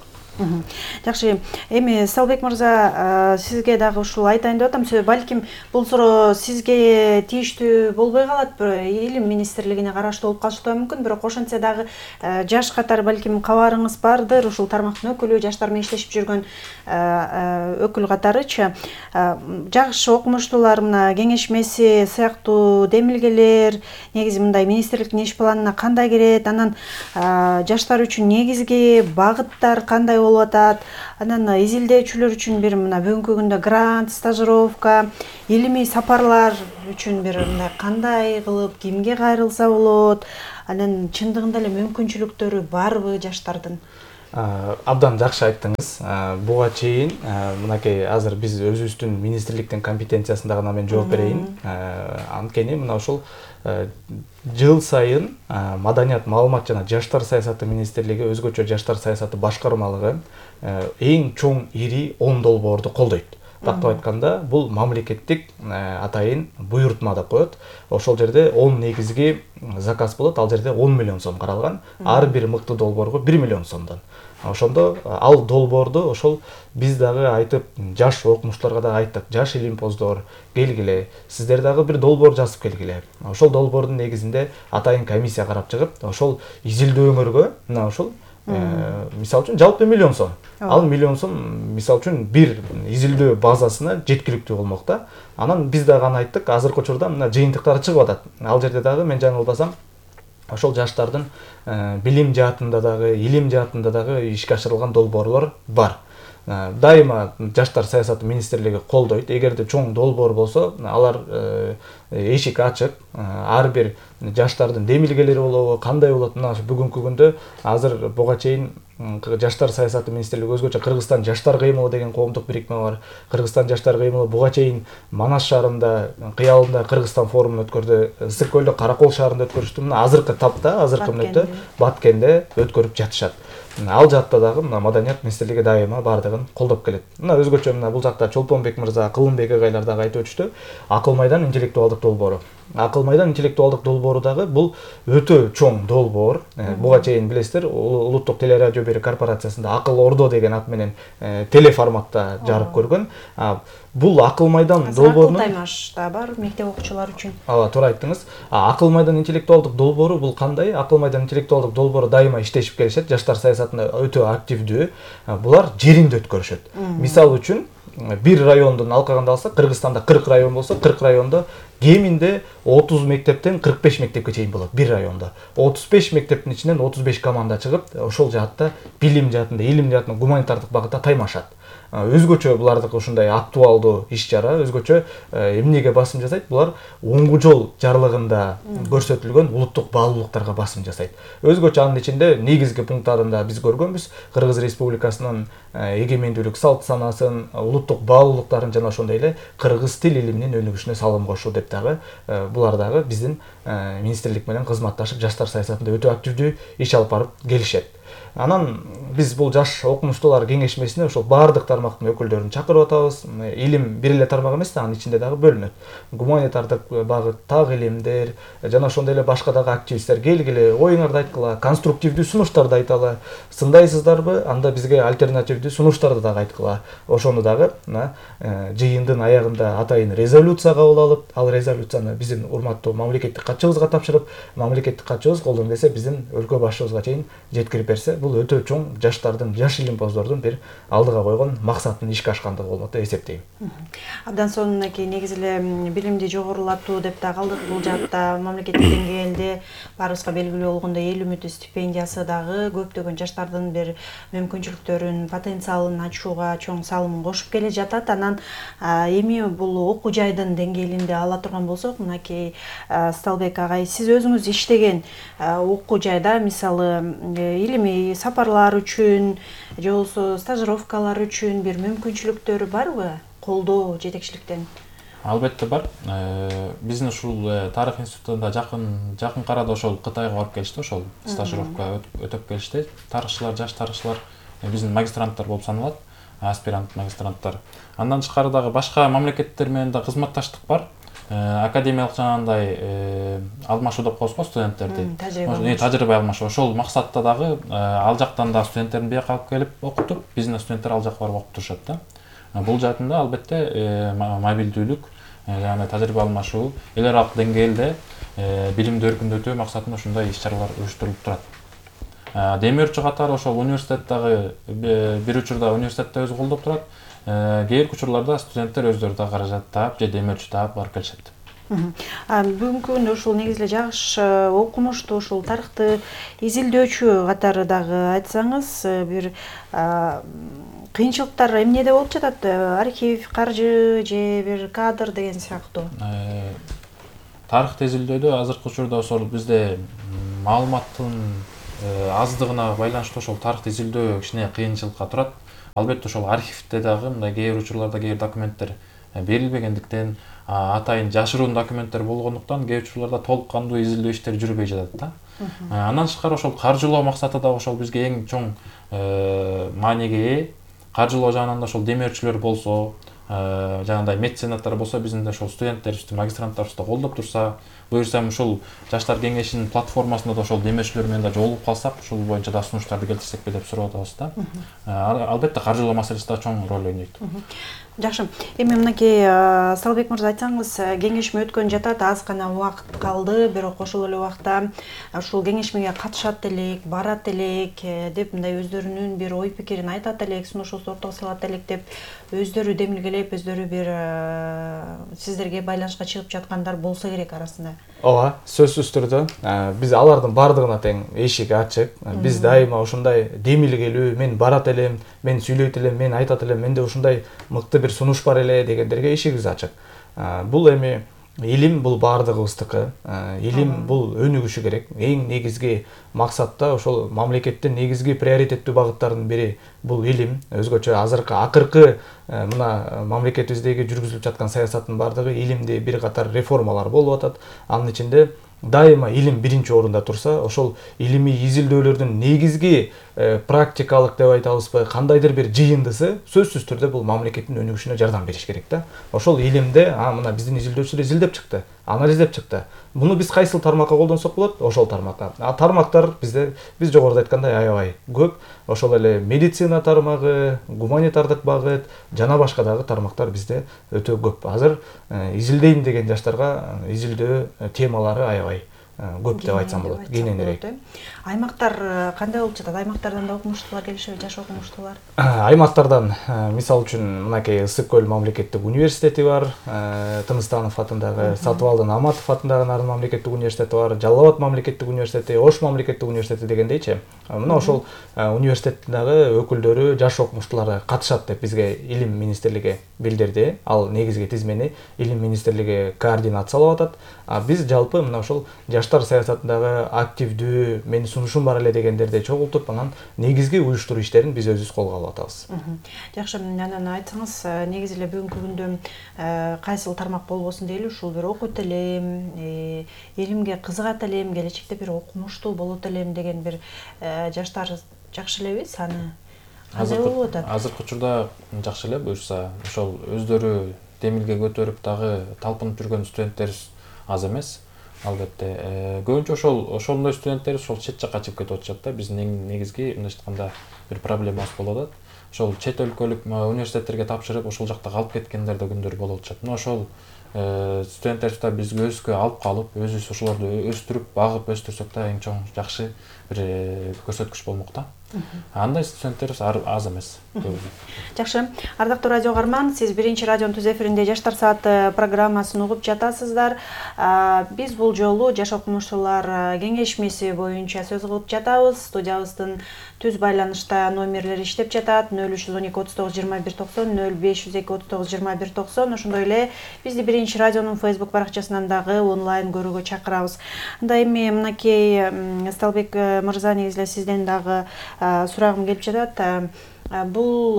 Жакшы, эми Салбек мырза, сизге дагы ушул айтайын деп атам. Балким бул суроо сизге тийиштүү болбой калат, Илим министрлигине караштуу болуп калышы да мүмкүн, бирок ошентсе дагы жаш катары балким кабарыңыз бардыр, ушул тармактын өкүлү, жаштар менен иштешип жүргөн өкүл катарычы. Жаш окумуштуулар мына кеңешмеси сыяктуу демилгелер негизи мындай министрликтин иш планына кандай кирет, анан жаштар үчүн негизги багыттар кандай болуп атат, анан изилдөөчүлөр үчүн бир мына бүгүнкү күндө грант, стажировка, илимий сапарлар үчүн бир мындай кандай кылып кимге кайрылса болот, анан чындыгында эле мүмкүнчүлүктөрү барбы жаштардын? Абдан жакшы айттыңыз. Буга чейин мынакей азыр биз өзүбүздүн министрликтин компетенциясында гана мен жооп берейин. Анткени мына ушул жыл сайын Маданият, маалымат жана жаштар саясаты министрлиги, өзгөчө жаштар саясаты башкармалыгы эң чоң ири 10 долбоорду колдойт. Тактап айтканда, бул мамлекеттик атайын буйрутма деп коет. Ошол жерде 10 негизги заказ болот, ал жерде 10 миллион сом каралган. Ар бир мыкты долбоорго 1 миллион сомдон. Ошондо ал долбоорду ошол биз дагы айтып, жаш окумуштууларга да айттык, жаш илимпоздор келгиле, сиздер дагы бир долбоор жазып келгиле. Ошол долбоордун негизинде атайын комиссия карап чыгып, ошол изилдөөңөргө мына ошол мисал үчүн жалпы миллион сом. Ал миллион сом мисал үчүн бир изилдөө базасына жеткиликтүү болмок да. Анан биз дагы аны айттык, азыркы учурда мына жыйынтыктары чыгып атат. Ал жерде дагы мен жаңылбасам ошол жаштардын билим жаатында дагы, илим жаатында дагы ишке ашырылган долбоорлор бар. Дайыма жаштар саясаты министрлиги колдойт. Эгерде чоң долбоор болсо, алар эшик ачык. Ар бир жаштардын демилгелери болобу, кандай болот? Мына бүгүнкү күндө азыр буга чейин жаштар саясаты министрлиги өзгөчө Кыргызстан жаштар кыймылы деген коомдук бирикме бар. Кыргызстан жаштар кыймылы буга чейин Манас шаарында, кыялында Кыргызстан форумун өткөрдү. Ысык көлдө Каракол шаарында өткөрүштү. Мына азыркы тапта, азыркы мүнөттө Баткенде өткөрүп жатышат. Ал жакта дагы мына Маданият министрлиги дайыма бардыгын колдоп келет. Мына өзгөчө мына бул жакта Чолпонбек мырза, Кылымбек агайлар дагы айтып өтүштү. Акыл майдан интеллектуалдык долбоору. Акыл майдан интеллектуалдык долбоору дагы бул өтө чоң долбоор. Буга чейин билесиздер, улуттук телерадио берүү корпорациясында Акыл Ордо деген ат менен телеформатта жарык көргөн. Бул Акыл майдан долбоорунун Акыл таймаш да бар мектеп окуучулары үчүн. Туура айттыңыз. Акыл майдан интеллектуалдык долбоору бул кандай? Акыл майдан интеллектуалдык долбоору дайыма иштешип келишет, жаштар саясатында өтө активдүү. Булар жеринде өткөрүшөт. Мисал үчүн бир райондун алкагында алсак, Кыргызстанда 40 район болсо, 40 райондо кеминде 30 мектептен 45 мектепке чейин болот бир райондо. 35 мектептин ичинен 35 команда чыгып, ошол жаатта билим жаатында, илим жаатында, гуманитардык багытта таймашат. Өзгөчө булардыкы ушундай актуалдуу иш-чара, өзгөчө эмнеге басым жасайт? Булар оңгу жол жарлыгында көрсөтүлгөн улуттук баалуулуктарга басым жасайт. Өзгөчө анын ичинде негизги пункттарында биз көргөнбүз, Кыргыз Республикасынын эгемендүүлүк салт санасын, улуттук баалуулуктарын жана ошондой эле кыргыз тил илиминин өнүгүшүнө салым кошуу деп дагы булар дагы биздин министрлик менен кызматташып жаштар саясатында өтө активдүү иш алып барып келишет. Анан биз бул жаш окумуштуулар кеңешмесине ошол баардык тармактын өкүлдөрүн чакырып атабыз. Илим бир эле тармак эмес да, анын ичинде дагы бөлүнөт. Гуманитардык багыт, так илимдер жана ошондой эле башка дагы активисттер келгиле, оюңарды айткыла, конструктивдүү сунуштарды айталы. Сындайсыздарбы? Анда бизге альтернативдүү сунуштарды дагы айткыла. Ошону дагы жыйындын аягында атайын резолюция кабыл алып, ал резолюцияны биздин урматтуу мамлекеттик катчыбызга тапшырып, мамлекеттик катчыбыз колдон келсе биздин өлкө башчыбызга чейин жеткирип берсе, бул өтө чоң жаштардын, жаш илимпоздордун бир алдыга койгон максатын ишке ашкандыгы болот деп эсептейм. Абдан сонунакей негизи эле билимди жогорулатуу деп да калдык. Бул жакта мамлекеттик деңгээлде баарыбызга белгилүү болгондой эл үмүтү стипендиясы дагы көптөгөн жаштардын бир мүмкүнчүлүктөрүн, потенциалын ачууга чоң салымын кошуп келе жатат. Анан эми бул окуу жайдын деңгээлинде ала турган болсок, мынакей Сталбек агай, сиз өзүңүз иштеген окуу жайда мисалы илимий сапарлар үчүн же болбосо стажировкалар үчүн бир мүмкүнчүлүктөр барбы? Колдоо жетекчиликтен? Албетте бар. Биздин ушул тарых институтунда жакын арада ошол Кытайга барып келишти, ошол стажировка өтөп келишти. Тарыхчылар, жаш тарыхчылар биздин магистранттар болуп саналат, аспирант магистранттар. Андан тышкары дагы башка мамлекеттер менен да кызматташтык бар. академиялык жанагындай алмашуу деп коебузго студенттерди, тажрыйба алмашуу. Ошол максатта дагы ал жактан да студенттердин бияка алып келип окутуп, биздин студенттер ал жака барып окуп турушат да. Бул жаатында албетте мобилдүүлүк, жана тажрыйба алмашуу, эл аралык деңгээлде билимди өркүндөтүү максатында ушундай иш-чаралар уюштурулуп турат. Демөөрчү катары ошол университет дагы бир учурда университетте өзү колдоп турат. Кээ бир учурларда студенттер өздөрү да каражат таап же демөөрчү таап барып келишет. Бүгүнкү күндө ушул негизи эле жакшы окумуштуу, ушул тарыхты изилдөөчү катары дагы айтсаңыз, бир кыйынчылыктар эмнеде болуп жатат? Архив, каржы же бир кадр деген сыяктуу. Тарыхты изилдөөдө азыркы учурда ошол бизде маалыматтын аздыгына байланыштуу ошол тарыхты изилдөө кичине кыйынчылыкка турат. Албетте ошол архивде дагы мындай кээ бир учурларда кээ бир документтер берилбегендиктен, атайын жашыруун документтер болгондуктан кээ бир учурларда толук кандуу изилдөө иштери жүрбөй жатат да. Андан тышкары ошол каржылоо максаты да ошол бизге эң чоң мааниге ээ. Каржылоо жагынан да ошол демөөрчүлөр болсо, жанагындай меценаттар болсо, биздин ошол студенттерибизди, магистранттарыбызды колдоп турса, буюрсам ушул жаштар кеңешинин платформасында да ошол демөөрчүлөр менен да жолугуп калсак, ушул боюнча да сунуштарды келтирсекпи деп сурап атабыз да. Албетте каржылоо маселеси да чоң роль ойнойт. Жакшы. Эми мынакей Салбек мырза айтсаңыз, кеңешме өткөн жатат, аз гана убакыт калды, бирок ошол эле убакта ушул кеңешмеге катышат элек, барат элек деп мындай өздөрүнүн бир ой пикирин айтат элек, сунушуусун ортого салат элек деп өздөрү демилгелеп, өздөрү бир сиздерге байланышка чыгып жаткандар болсо керек арасында. Ооба, сөзсүз түрдө биз алардын бардыгына тең эшик ачык. Биз дайыма ушундай демилгелүү, мен барат элем, мен сүйлөйт элем, мен айтат элем, менде ушундай мыкты бир сунуш бар эле дегендерге эшигибиз ачык. Бул эми илим бул бардыгыбыздыкы. Илим бул өнүгүшү керек. Эң негизги максатта ошол мамлекеттин негизги приоритеттүү багыттарынын бири бул илим. Өзгөчө азыркы акыркы мына мамлекетибиздеги жүргүзүлүп жаткан саясаттын бардыгы илимди бир катар реформалар болуп атат. Анын ичинде дайыма илим биринчи орунда турса, ошол илимий изилдөөлөрдүн негизги практикалык деп айтабызбы, кандайдыр бир жыйындысы сөзсүз түрдө бул мамлекеттин өнүгүшүнө жардам бериш керек да. Ошол илимде мына биздин изилдөөчүлөр изилдеп чыкты, анализдеп чыкты. Буну биз кайсыл тармакка колдонсок болот? Ошол тармакка. Тармактар биз жогоруда айткандай аябай көп. Ошол эле медицина тармагы, гуманитардык багыт жана башка дагы тармактар бизде өтө көп. Азыр изилдейм деген жаштарга изилдөө темалары аябай көп деп айтсам болот. Кененирээк. Аймактар кандай болуп жатат? Аймактардан да окумуштуулар келишеби, жаш окумуштуулар? Аймактардан мисал үчүн мынакей Ысык көл мамлекеттик университети бар, Тыныстанов атындагы, Сатыбалдын Аматов атындагы Нарын мамлекеттик университети бар, Жалал Абад мамлекеттик университети, Ош мамлекеттик университети дегендейчи. Мына ошол университеттин дагы өкүлдөрү, жаш окумуштуулар катышат деп бизге Илим министрлиги билдирди. Ал негизги тизмени Илим министрлиги координациялап атат. Биз жалпы мына ошол жаштар саясатындагы активдүү, менин сунушум бар эле дегендерди чогултуп, анан негизги уюштуруу иштерин биз өзүбүз колго алып атабыз. Жакшы, анан айтсаңыз, негизи эле бүгүнкү күндө кайсыл тармак болбосун дейли, ушул бир окуйт элем, илимге кызыгат элем, келечекте бир окумуштуу болот элем деген бир жаштар жакшы элеби саны? Кандай болуп атат? Азыркы учурда жакшы эле, буюрса ошол өздөрү демилге көтөрүп дагы талпынып жүргөн студенттерибиз аз эмес. Албетте, көбүнчө ошондой студенттерибиз ошол чет жакка чыгып кетип атышат да. Биздин эң негизги мындайча айтканда бир проблемабыз болуп атат. Ошол чет өлкөлүк университеттерге тапшырып, ошол жакта калып кеткендер да күндөр болуп атышат. Мына ошол студенттерибизди да бизге өзгө алып калып, өзүбүз ошолорду өстүрүп, багып өстүрсөк да эң чоң жакшы бир көрсөткүч болмок да. Андай студенттерибиз аз эмес. Жакшы. Ардактуу радио угарман, сиз биринчи радионун түз эфиринде Жаштар сааты программасын угуп жатасыздар. Биз бул жолу жаш окумуштуулар кеңешмеси боюнча сөз кылып жатабыз. Студиябыздын түз байланышта номерлери иштеп жатат: 0312 39 21 90, 0502 39 21 90. Ошондой эле бизди биринчи радионун Facebook баракчасынан дагы онлайн көрүүгө чакырабыз. Анда эми мынакей Сталбек мырза, негизи эле сизден дагы сурагым келип жатат. Бул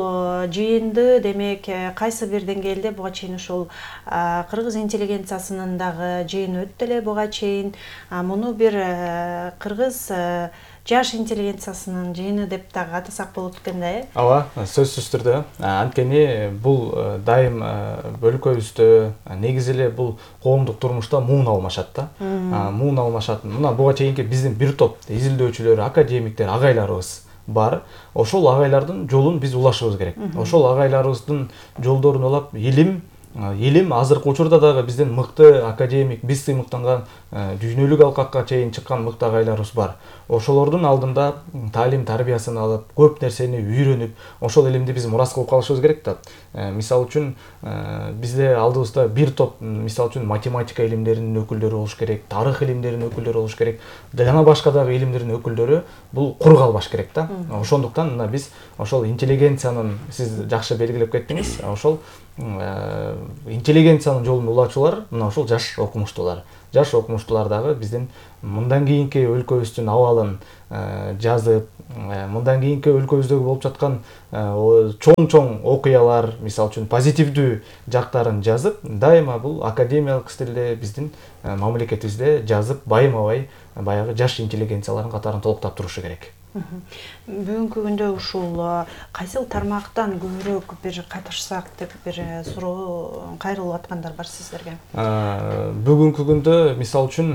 жыйынды демек кайсы бир деңгээлде буга чейин ушул кыргыз интеллигенциясынын дагы жыйыны өттү эле буга чейин. Муну бир кыргыз жаш интеллигенциясынын жыйыны деп дагы атасак болот экен да, Ооба, сөзсүз түрдө. Анткени бул дайым өлкөбүздө негизи эле бул коомдук турмушта муун алмашат да. Муун алмашат. Мына буга чейинки биздин бир топ изилдөөчүлөр, академиктер, агайларыбыз бар. Ошол агайлардын жолун биз улашыбыз керек. Ошол агайларыбыздын жолдорун улап илим азыркы учурда дагы биздин мыкты академик, биз сыймыктанган дүйнөлүк алкакка чейин чыккан мыкты агайларыбыз бар. Ошолордун алдында таалим тарбиясын алып, көп нерсени үйрөнүп, ошол илимди биз мурас кылып калышыбыз керек да. Мисалы үчүн бизде алдыбызда бир топ, мисалы үчүн математика илимдеринин өкүлдөрү болуш керек, тарых илимдеринин өкүлдөрү болуш керек, жана башка дагы илимдердин өкүлдөрү бул кур калбаш керек да. Ошондуктан мына биз ошол интеллигенциянын, сиз жакшы белгилеп кеттиңиз, ошол интеллигенциянын жолун улаачулар мына ошол жаш окумуштуулар. Жаш окумуштуулар дагы биздин мындан кийинки өлкөбүздүн абалын жазып, мындан кийинки өлкөбүздөгү болуп жаткан чоң окуялар, мисалы үчүн позитивдүү жактарын жазып, дайыма бул академиялык стилде биздин мамлекетибизде жазып, байыма-бай баягы жаш интеллигенциялардын катарын толуктап турушу керек. Бүгүнкү күндө ушул кайсыл тармактан көбүрөөк бир катышсак деп бир суроо кайрылып аткандар бар сиздерге? Бүгүнкү күндө мисалы үчүн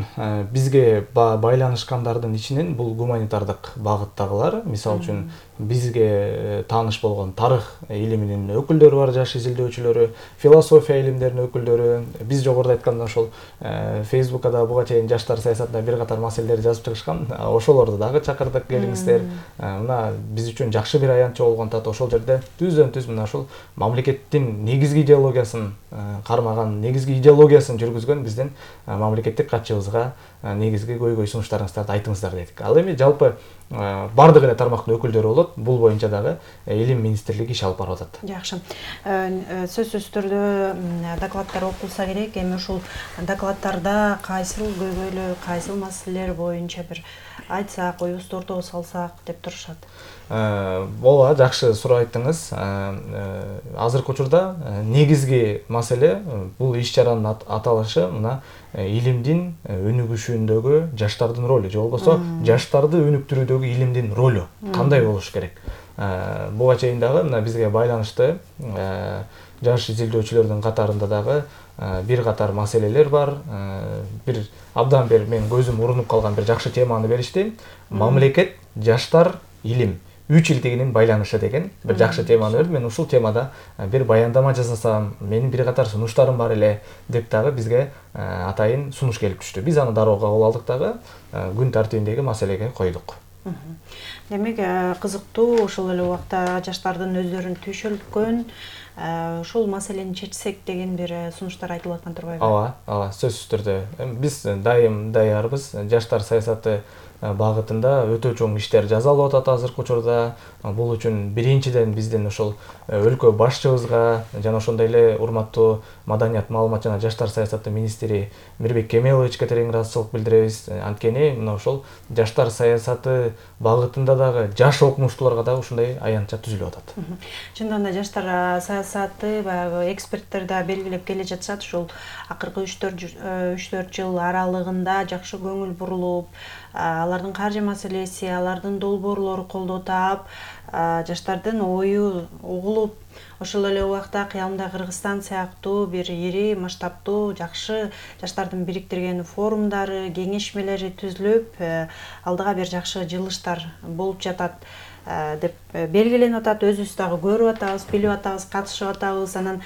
бизге байланышкандардын ичинен бул гуманитардык багыттагылар, мисалы үчүн бизге тааныш болгон тарых илиминин өкүлдөрү бар, жаш изилдөөчүлөрү, философия илимдеринин өкүлдөрү, биз жогоруда айтканда ошол Фейсбукка да буга чейин жаштар саясатында бир катар маселелер жазып чыгышкан, ошолорду дагы чакырдык, келиңиздер. Мына биз үчүн жакшы бир аянтчы болгон тат ошол жерде түздөн-түз мына ошол мамлекеттин негизги идеологиясын кармаган, негизги идеологиясын жүргүзгөн биздин мамлекеттик катчыбызга негизги көйгөй сунуштарыңыздарды айтыңыздар дедик. Ал эми жалпы бардык эле тармактын өкүлдөрү болот. Бул боюнча дагы илим министрлиги иш алып барып атат. Жакшы. Сөзсүз түрдө докладдар окулса керек. Эми ушул докладдарда кайсыл көйгөйлөр, кайсыл маселелер боюнча бир айтсак, оюбузду ортого салсак деп турушат. Ооба, жакшы суроо айттыңыз. Азыркы учурда негизги маселе бул иш-чаранын аталышы мына илимдин өнүгүшүндөгү жаштардын ролу, же болбосо жаштарды өнүктүрүүдөгү илимдин ролу кандай болуш керек. Буга чейин дагы мына бизге байланышты жаш изилдөөчүлөрдүн катарында дагы бир катар маселелер бар. Бир абдан бир мен көзүм урунуп калган бир жакшы теманы беришти. Мамлекет, жаштар, илим 3 илтигинин байланышы деген бир жакшы теманы берди. Мен ушул темада бир баяндама жасасам, менин бир катар сунуштарым бар эле деп дагы бизге атайын сунуш келип түштү. Биз аны дароо кабыл алдык дагы күн тартибиндеги маселеге койдук. Демек, кызыктуу, ошол эле убакта жаштардын өздөрүн түйшөлткөн ушул маселени чечсек деген бир сунуштар айтылып аткан турбайбы? Ооба, сөзсүз түрдө. Биз дайым даярбыз. Жаштар саясаты багытында өтө чоң иштер жасалып атат азыркы учурда. Бул үчүн биринчиден биздин ошол өлкө башчыбызга жана ошондой эле урматтуу маданият, маалымат жана жаштар саясаты министри Мирбек Кемеловичке терең ыраазычылык билдиребиз. Анткени мына ошол жаштар саясаты багытында дагы жаш окумуштууларга дагы ушундай аянтча түзүлүп атат. Чындыгында жаштар саясаты баягы эксперттер да белгилеп келе жатышат. Ушул акыркы 3-4 жыл аралыгында жакшы көңүл бурулуп, алардын каржы маселеси, алардын долбоорлору колдоо таап, жаштардын ою угулуп, ошол эле убакта кыямда Кыргызстан сыяктуу бир ири масштабтуу жакшы жаштардын бириктирген форумдары, кеңешмелери түзүлүп, алдыга бир жакшы жылыштар болуп жатат деп белгиленип атат. Өзүбүз дагы көрүп атабыз, билип атабыз, катышып атабыз. Анан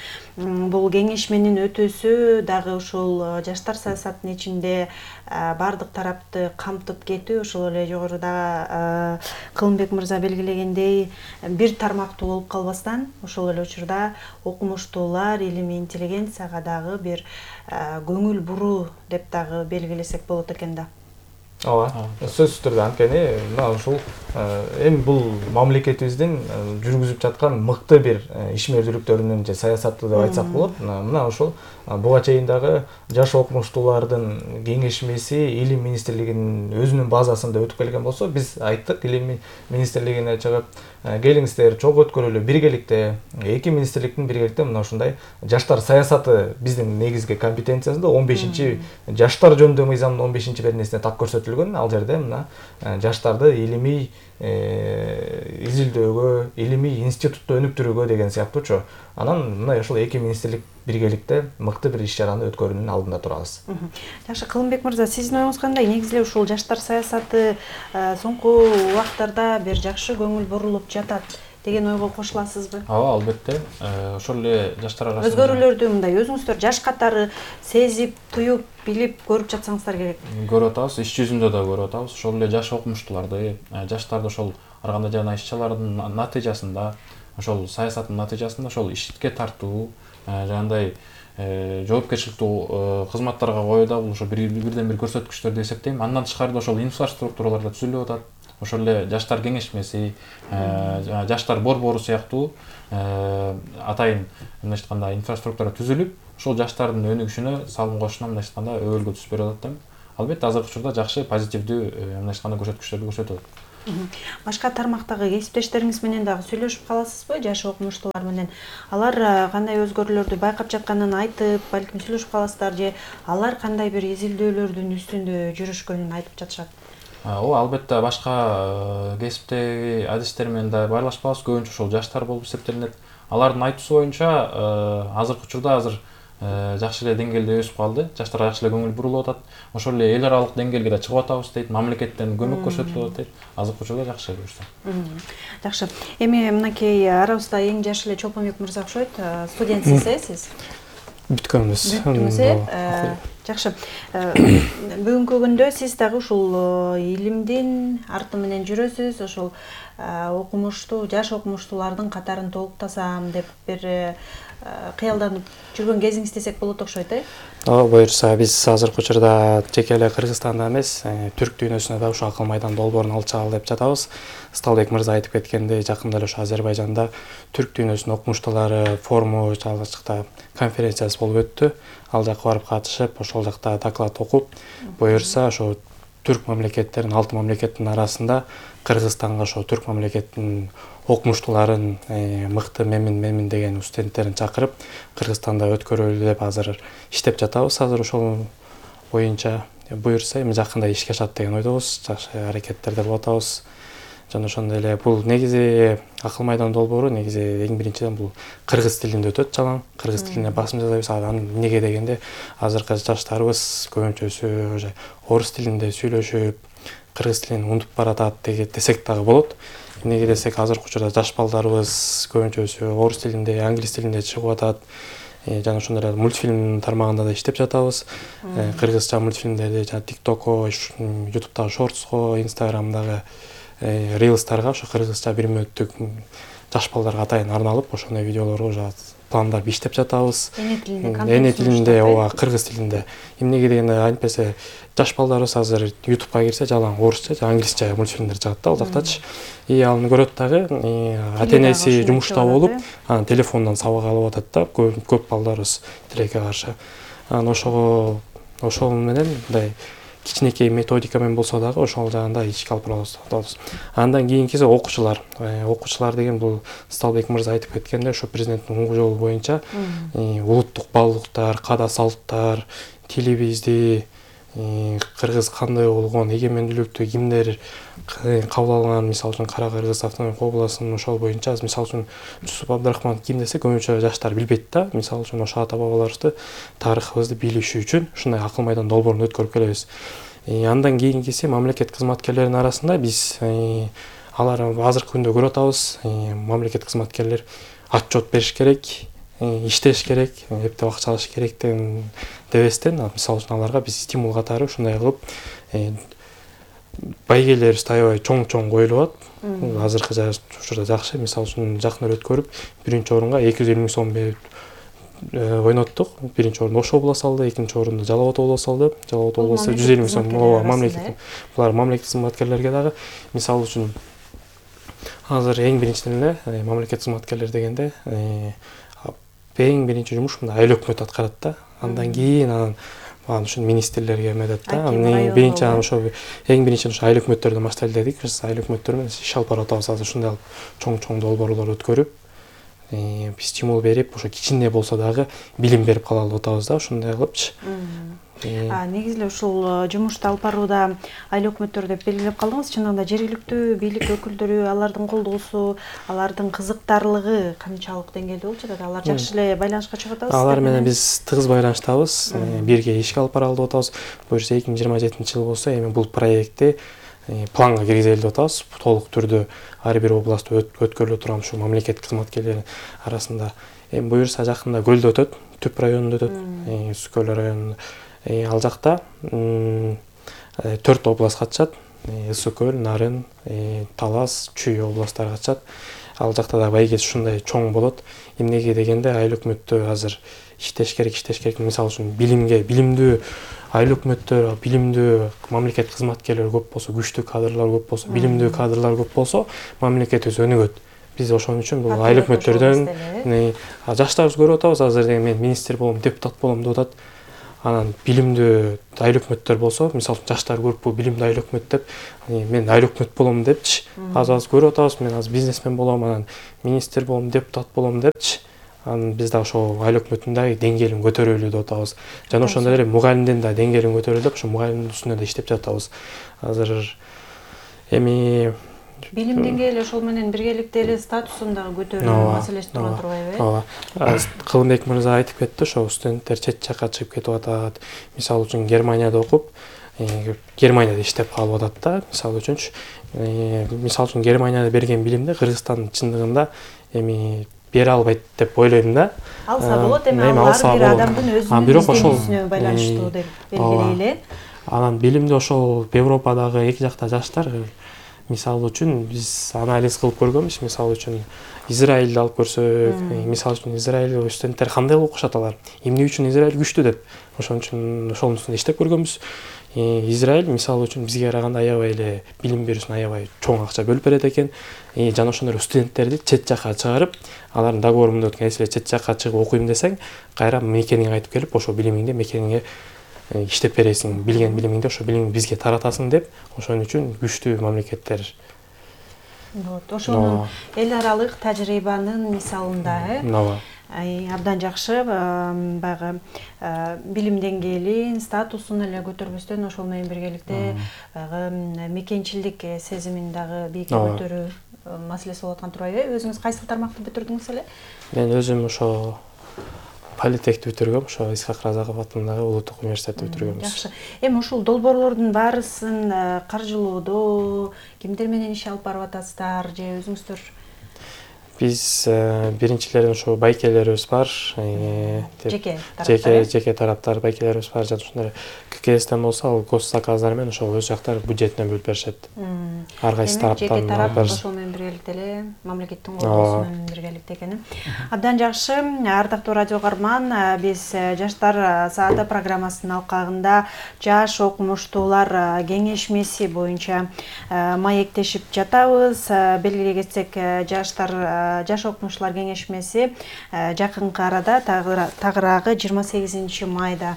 бул кеңешменин өтүүсү дагы ушул жаштар саясатынын ичинде бардык тарапты камтып кетүү, ошол эле жогоруда Кылымбек мырза белгилегендей бир тармактуу болуп калбастан, ошол эле учурда окумуштуулар, илимий интеллигенцияга дагы бир көңүл буруу деп дагы белгилесек болот экен да. Ооба, сөзсүз түрдө. Анткени мына ушул эми бул мамлекетибиздин жүргүзүп жаткан мыкты бир ишмердүүлүктөрүнүн же саясаты деп айтсак болот. Мына ошол буга чейин дагы жаш окумуштуулардын кеңешмеси илим министрлигинин өзүнүн базасында өтүп келген болсо, биз айттык илим министрлигине чыгып келиңиздер, чогуу өткөрөлү биргеликте, эки министрликтин биргеликте мына ушундай жаштар саясаты биздин негизги компетенциябызда 15-жаштар жөнүндө мыйзамдын 15-беренесине так көрсөтүлгөн. Ал жерде мына жаштарды илимий изилдөөгө, илимий институтта өнүктүрүүгө деген сыяктуучу. Анан мына ошол эки министрлик биргеликте мыкты бир иш-чараны өткөрүүнүн алдында турабыз. Жакшы, Кылымбек мырза, сиздин оюңуз кандай? Негизи эле ушул жаштар саясаты соңку убактарда бир жакшы көңүл бурулуп жатат деген ойго кошуласызбы? Ооба, албетте. Ошол эле жаштар арасында өзгөрүүлөрдү мындай өзүңүздөр жаш катары сезип, туюп, билип көрүп жатсаңыздар керек. Көрүп атабыз, иш жүзүндө да көрүп атабыз. Ошол эле жаш окумуштууларды, жаштарды ошол ар кандай жана иш-чаралардын натыйжасында, ошол саясаттын натыйжасында ошол ишке тартуу, жандай жоопкерчиликтүү кызматтарга коюу да бул ошо бирден бир көрсөткүчтөр деп эсептейм. Андан тышкары да ошол инфраструктуралар да түзүлүп атат. Ошол эле жаштар кеңешмеси, жаштар борбору сыяктуу атайын мындайча айтканда инфраструктура түзүлүп, ошол жаштардын өнүгүшүнө салым кошушуна мындайча айтканда өбөлгө түз берип атат. Албетте азыркы учурда жакшы позитивдүү мындайча айтканда көрсөткүчтөрдү көрсөтүп атат. Башка тармактагы кесиптештериңиз менен дагы сүйлөшүп каласызбы? Жаш окумуштуулар менен алар кандай өзгөрүүлөрдү байкап жатканын айтып, балким сүйлөшүп каласыздар же алар кандай бир изилдөөлөрдүн үстүндө жүрүшкөнүн айтып жатышат? Ооба, албетте башка кесиптеги адистер менен да баарлашпабыз, көбүнчө ошол жаштар болуп эсептелинет. Алардын айтуусу боюнча азыркы учурда жакшы эле деңгээлде өсүп калды, жаштарга жакшы эле көңүл бурулуп атат. Ошол эле эл аралык деңгээлге да чыгып атабыз дейт, мамлекеттен көмөк көрсөтүлүп атат дейт. Азыркы учурда жакшы эле буюрса. Жакшы. Эми мынакей арабызда эң жаш эле Чолпонбек мырза окшойт. Студентсиз, сиз? Бүткөнбүз. Жакшы. Бүгүнкү күндө сиз дагы ушул илимдин арты менен жүрөсүз, ошол окумуштуу, жаш окумуштуулардын катарын толуктасам деп бир кыялданып жүргөн кезиңиз десек болот окшойт, Ооба, буюрса биз азыркы учурда жеке эле Кыргызстанда эмес, түрк дүйнөсүнө да ушул акыл майдан долбоорун алып чыгалы деп жатабыз. Сталбек мырза айтып кеткендей, жакында эле ошо Азербайжанда түрк дүйнөсүнүн окумуштуулары форуму жакта конференциясы болуп өттү. Ал жакка барып катышып, ошол жакта доклад окуп, буюрса ошо түрк мамлекеттерин, 6 мамлекеттин арасында Кыргызстанга ошо түрк мамлекеттин окумуштууларын мыкты мемин деген студенттерин чакырып, Кыргызстанда өткөрөлү деп азыр иштеп жатабыз. Азыр ошол боюнча буюрса эми жакында ишке ашат деген ойдобуз, жакшы аракеттерде болуп атабыз. Жана ошондой эле бул негизи акыл майдан долбоору негизи эң биринчиден бул кыргыз тилинде өтөт жалаң. Кыргыз тилине басым жасайбыз. Анан эмнеге дегенде азыркы жаштарыбыз көбүнчөсү уже орус тилинде сүйлөшүп, кыргыз тилин унутуп баратат десек дагы болот. Эмнеге десек, азыркы учурда жаш балдарыбыз көбүнчөсү орус тилинде, англис тилинде чыгып атат. Жана ошондой эле мультфильм тармагында да иштеп жатабыз. Кыргызча мультфильмдерди жана TikTokко, YouTube'дагы Shorts'ко, Instagram'дагы Reels'тарга ошо кыргызча 1 мүнөттүк жаш балдарга атайын арналып, ошондой видеолорго уже пландар иштеп жатабыз. Эне тилинде, ооба, кыргыз тилинде. Эмнеге дегенде антпесе жаш балдарыбыз азыр YouTube'га кирсе жалаң орусча же англисче мультфильмдер чыгат да ал жактачы. Аны көрөт дагы, ата-энеси жумушта болуп, телефондон сабак алып атат да, көп балдарыбыз тилекке каршы. Ошол менен мындай кичинекей методика менен болсо дагы ошол жагында ишке алып барабыз. Андан кийинкиси окуучулар. Окуучулар деген бул Сталбек мырза айтып кеткенде, ошо президенттин угуу жолу боюнча улуттук баалуулуктар, каада салттар, тилибизди, кыргыз кандай болгон, эгемендүүлүктү кимдер кабыл алган, мисалы үчүн Кара Кыргыз автономиялык областынын ошол боюнча, мисалы үчүн Жусуп Абдрахман ким десе көбүнчө жаштар билбейт да. Мисалы үчүн ошо ата бабаларыбызды, тарыхыбызды билишүү үчүн ушундай акыл майдан долбоорун өткөрүп келебиз. Андан кийинкиси мамлекет кызматкерлеринин арасында биз алар азыркы күндө көрүп атабыз, мамлекет кызматкерлер отчет бериш керек, иштеш керек, эптеп акча алыш керек дебестен, мисалы үчүн аларга биз стимул катары ушундай кылып байгелер аябай чоң коюлуп атат. Азыркы учурда жакшы, мисалы үчүн жакын эле өткөрүп, 1-орунга 250 миң сом берип ойноттук. 1-орунду Ошо боло салды, 2-орунду Жалал Абад боло салды. Жалал Абад болсо 150 миң сом мамлекет. Булар мамлекет кызматкерлерге дагы, мисалы үчүн азыр эң биринчиден эле мамлекет кызматкерлер дегенде эң биринчи жумуш мындай айыл өкмөт аткарат да. Андан кийин анан ушул министрлерге эметет да. Биринчи ошо эң биринчи ошо айыл өкмөттөрдөн баштайлы дедик. Биз айыл өкмөттөр менен иш алып барып атабыз. Азыр ушундай чоң долбоорлор өткөрүп, стимул берип, ошо кичине болсо дагы билим берип калалы деп атабыз да, ушундай кылыпчы. Негизи эле ушул жумушту алып барууда айыл өкмөттөр деп белгилеп калдыңыз. Чындыгында жергиликтүү бийлик өкүлдөрү, алардын колдоосу, алардын кызыктарлыгы канчалык деңгээлде болуп жатат? Алар жакшы эле байланышка чыгып атабыз? Алар менен биз тыгыз байланыштабыз. Бирге ишке алып баралы деп атабыз. Буюрса 2027-жыл болсо эми бул проектти планга киргизели деп атабыз. Толук түрдө ар бир областта өткөрүлө турган ушул мамлекет кызматкерлеринин арасында. Эми буюрса жакында Көлдө өтөт, Түп районунда өтөт, Үскөл районунда. Ал жакта 4 област катышат. Ысык көл, Нарын, Талас, Чүй областтары катышат. Ал жакта да байгет ушундай чоң болот. Эмнеге дегенде айыл өкмөттө азыр иштеш керек. Мисалы үчүн билимдүү айыл өкмөттөр, билимдүү мамлекет кызматкерлери көп болсо, күчтүү кадрлар көп болсо, билимдүү кадрлар көп болсо, мамлекетибиз өнүгөт. Биз ошон үчүн бул айыл өкмөттөрдөн жаштарыбыз көрүп атабыз. Азыр мен министр болом, депутат болом деп атат. Анан билимдүү айыл өкмөттөр болсо, мисалы жаштар көрүп билимдүү айыл өкмөт деп, мен айыл өкмөт болом депчи. Аз көрүп атабыз, мен азыр бизнесмен болом, анан министр болом, депутат болом депчи. Анан биз да ошо айыл өкмөттүн дагы деңгээлин көтөрөлү деп атабыз. Жана ошондой эле мугалимдин да деңгээлин көтөрөлү деп, ошо мугалимдин үстүнө да иштеп жатабыз. Азыр эми билим деңгээли ошол менен биргеликте эле статусун дагы көтөрүү маселеси тура турбайбы? Ооба. Кылымбек мырза айтып кетти, ошо студенттер чет жакка чыгып кетип атат. Мисалы үчүн Германияда окуп, Германияда иштеп калып атат да. Мисалы үчүн Германияда берген билимди Кыргызстан чындыгында эми бере албайт деп ойлойм да. Алса болот, эми алар бир адамдын өзүнүн изденүүсүнө байланыштуу деп белгилейли. Анан билимди ошол Европадагы эки жакта жаштар, мисалы үчүн биз анализ кылып көргөнбүз. Мисалы үчүн Израилди алып көрсөк, мисалы үчүн Израиль студенттер кандай окушат алар? Эмне үчүн Израиль күчтүү деп. Ошон үчүн ошонун үстүндө иштеп көргөнбүз. Израиль мисалы үчүн бизге караганда аябай эле билим берүүсүнө аябай чоң акча бөлүп берет экен. Жана ошондой студенттерди чет жакка чыгарып, алардын договорунда өткөн эсиле чет жакка чыгып окуйм десең, кайра мекениңе кайтып келип, ошо билимиңди мекениңе иштеп бересиң, билген билимиңди ошо билимди бизге таратасың деп, ошон үчүн күчтүү мамлекеттер. Ошонун эл аралык тажрыйбанын мисалында, абдан жакшы баягы билим деңгээлин, статусун эле көтөрбөстөн ошол менен биргеликте баягы мекенчилдик сезимин дагы бийикке көтөрүү маселеси болуп аткан турбайбы? Өзүңүз кайсы тармакты бүтүрдүңүз эле? Мен өзүм ошо политехти бүтүргөм, ошо Исхак Разаков атындагы Улуттук университетти бүтүргөнбүз. Жакшы. Эми ушул долбоорлордун баарысын каржылоодо кимдер менен иш алып барып атасыздар же өзүңүздөр? Биз биринчилерден ошо байкелерибиз бар, жеке тараптар байкелерибиз бар, жана ошондой ККСтен болсо ал госзаказдар менен ошол өз жактары бюджетинен бөлүп беришет. Ар кайсы тараптан жеке тарап ошол менен биргеликте эле мамлекеттин колдоосу менен биргеликте экен. Абдан жакшы. Ардактуу радио каарман, биз Жаштар сааты программасынын алкагында жаш окумуштуулар кеңешмеси боюнча маектешип жатабыз. Белгилей кетсек, Жаш окумуштуулар кеңешмеси жакынкы арада тагыраагы 28 майда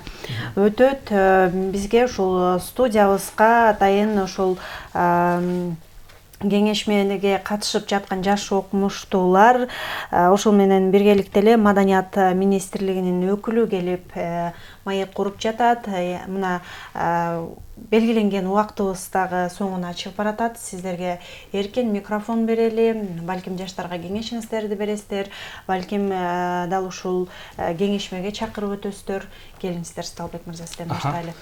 өтөт. Бизге ушул студиябызга атайын ушул кеңешмеге катышып жаткан жаш окумуштуулар, ошол менен биргеликте эле Маданият министрлигинин өкүлү келип маек куруп жатат. Мына белгиленген убактыбыз дагы соңуна чыгып баратат. Сиздерге эркен микрофон берели. Балким жаштарга кеңешиңиздерди бересиздер, балким дал ушул кеңешмеге чакырып өтөсүздөр. Келиңиздер, Сталбек мырза, сизден баштайлы.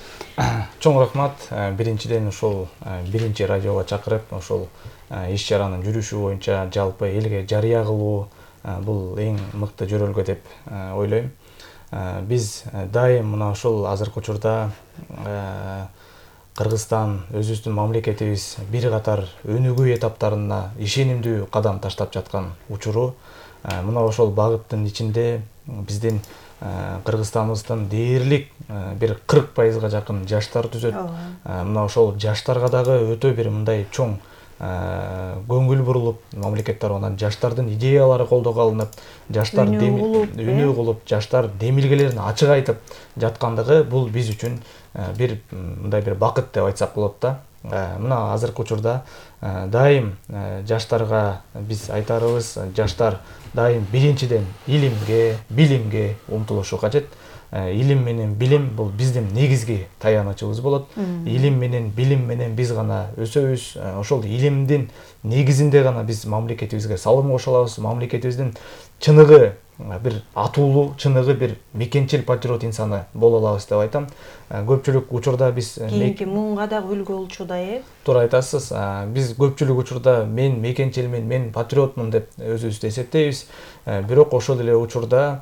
Чоң рахмат. Биринчиден ушул биринчи радиого чакырып, ушул иш чаранын жүрүшү боюнча жалпы элге жарыя кылуу бул эң мыкты жөрөлгө деп ойлойм. Биз дайым мына ушул азыркы учурда Кыргызстан, өзүбүздүн мамлекетибиз бир катар өнүгүү этаптарына ишенимдүү кадам таштап жаткан учуру. Мына ошол багыттын ичинде биздин Кыргызстаныбыздын дээрлик бир 40% жакын жаштар түзөт. Мына ошол жаштарга дагы өтө бир мындай чоң көңүл бурулуп, мамлекет тарабынан жаштардын идеялары колдоого алынып, жаштар үнүү кылып, жаштар демилгелерин ачык айтып жаткандыгы бул биз үчүн бир мындай бир бакыт деп айтсак болот да. Мына азыркы учурда дайым жаштарга биз айтарыбыз, жаштар дайым биринчиден илимге, билимге умтулушу кажет. Илим менен билим бул биздин негизги таянычыбыз болот. Илим менен билим менен биз гана өсөбүз. Ошол илимдин негизинде гана биз мамлекетибизге салым кошо алабыз. Мамлекетибиздин чыныгы бир атуулуу, чыныгы бир мекенчил патриот инсаны боло алабыз деп айтам. Көпчүлүк учурда биз кийинки муңга дагы үлгү болчудай. Туура айтасыз. Биз көпчүлүк учурда мен мекенчилмин, мен патриотмун деп өзүбүздү эсептейбиз. Бирок ошол эле учурда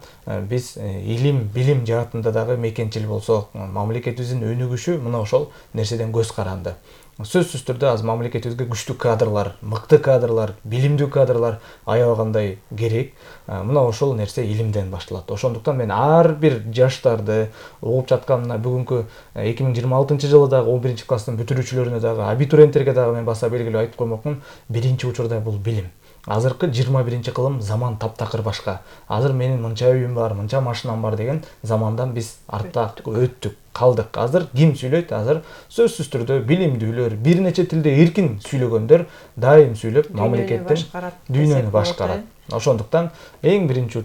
биз илим, билим жаатында дагы мекенчил болсок, мамлекетибиздин өнүгүшү мына ошол нерседен көз каранды. Сөзсүз түрдө азыр мамлекетибизге күчтүү кадрлар, мыкты кадрлар, билимдүү кадрлар аябагандай керек. Мына ошол нерсе илимден башталат. Ошондуктан мен ар бир жаштарды угуп жаткан мына бүгүнкү 2026 жылдагы 11 класстын бүтүрүүчүлөрүнө дагы, абитуриенттерге дагы мен баса белгилеп айтып коймокмун. Биринчи учурда бул билим. Азыркы 21-кылым заман таптакыр башка. Азыр менин мынча үйүм бар, мынча машинам бар деген замандан биз артта өттүк, калдык. Азыр ким сүйлөйт? Азыр сөзсүз түрдө билимдүүлөр, бир нече тилде эркин сүйлөгөндөр дайым сүйлөп мамлекеттин дүйнөнү башкарат. Ошондуктан эң биринчи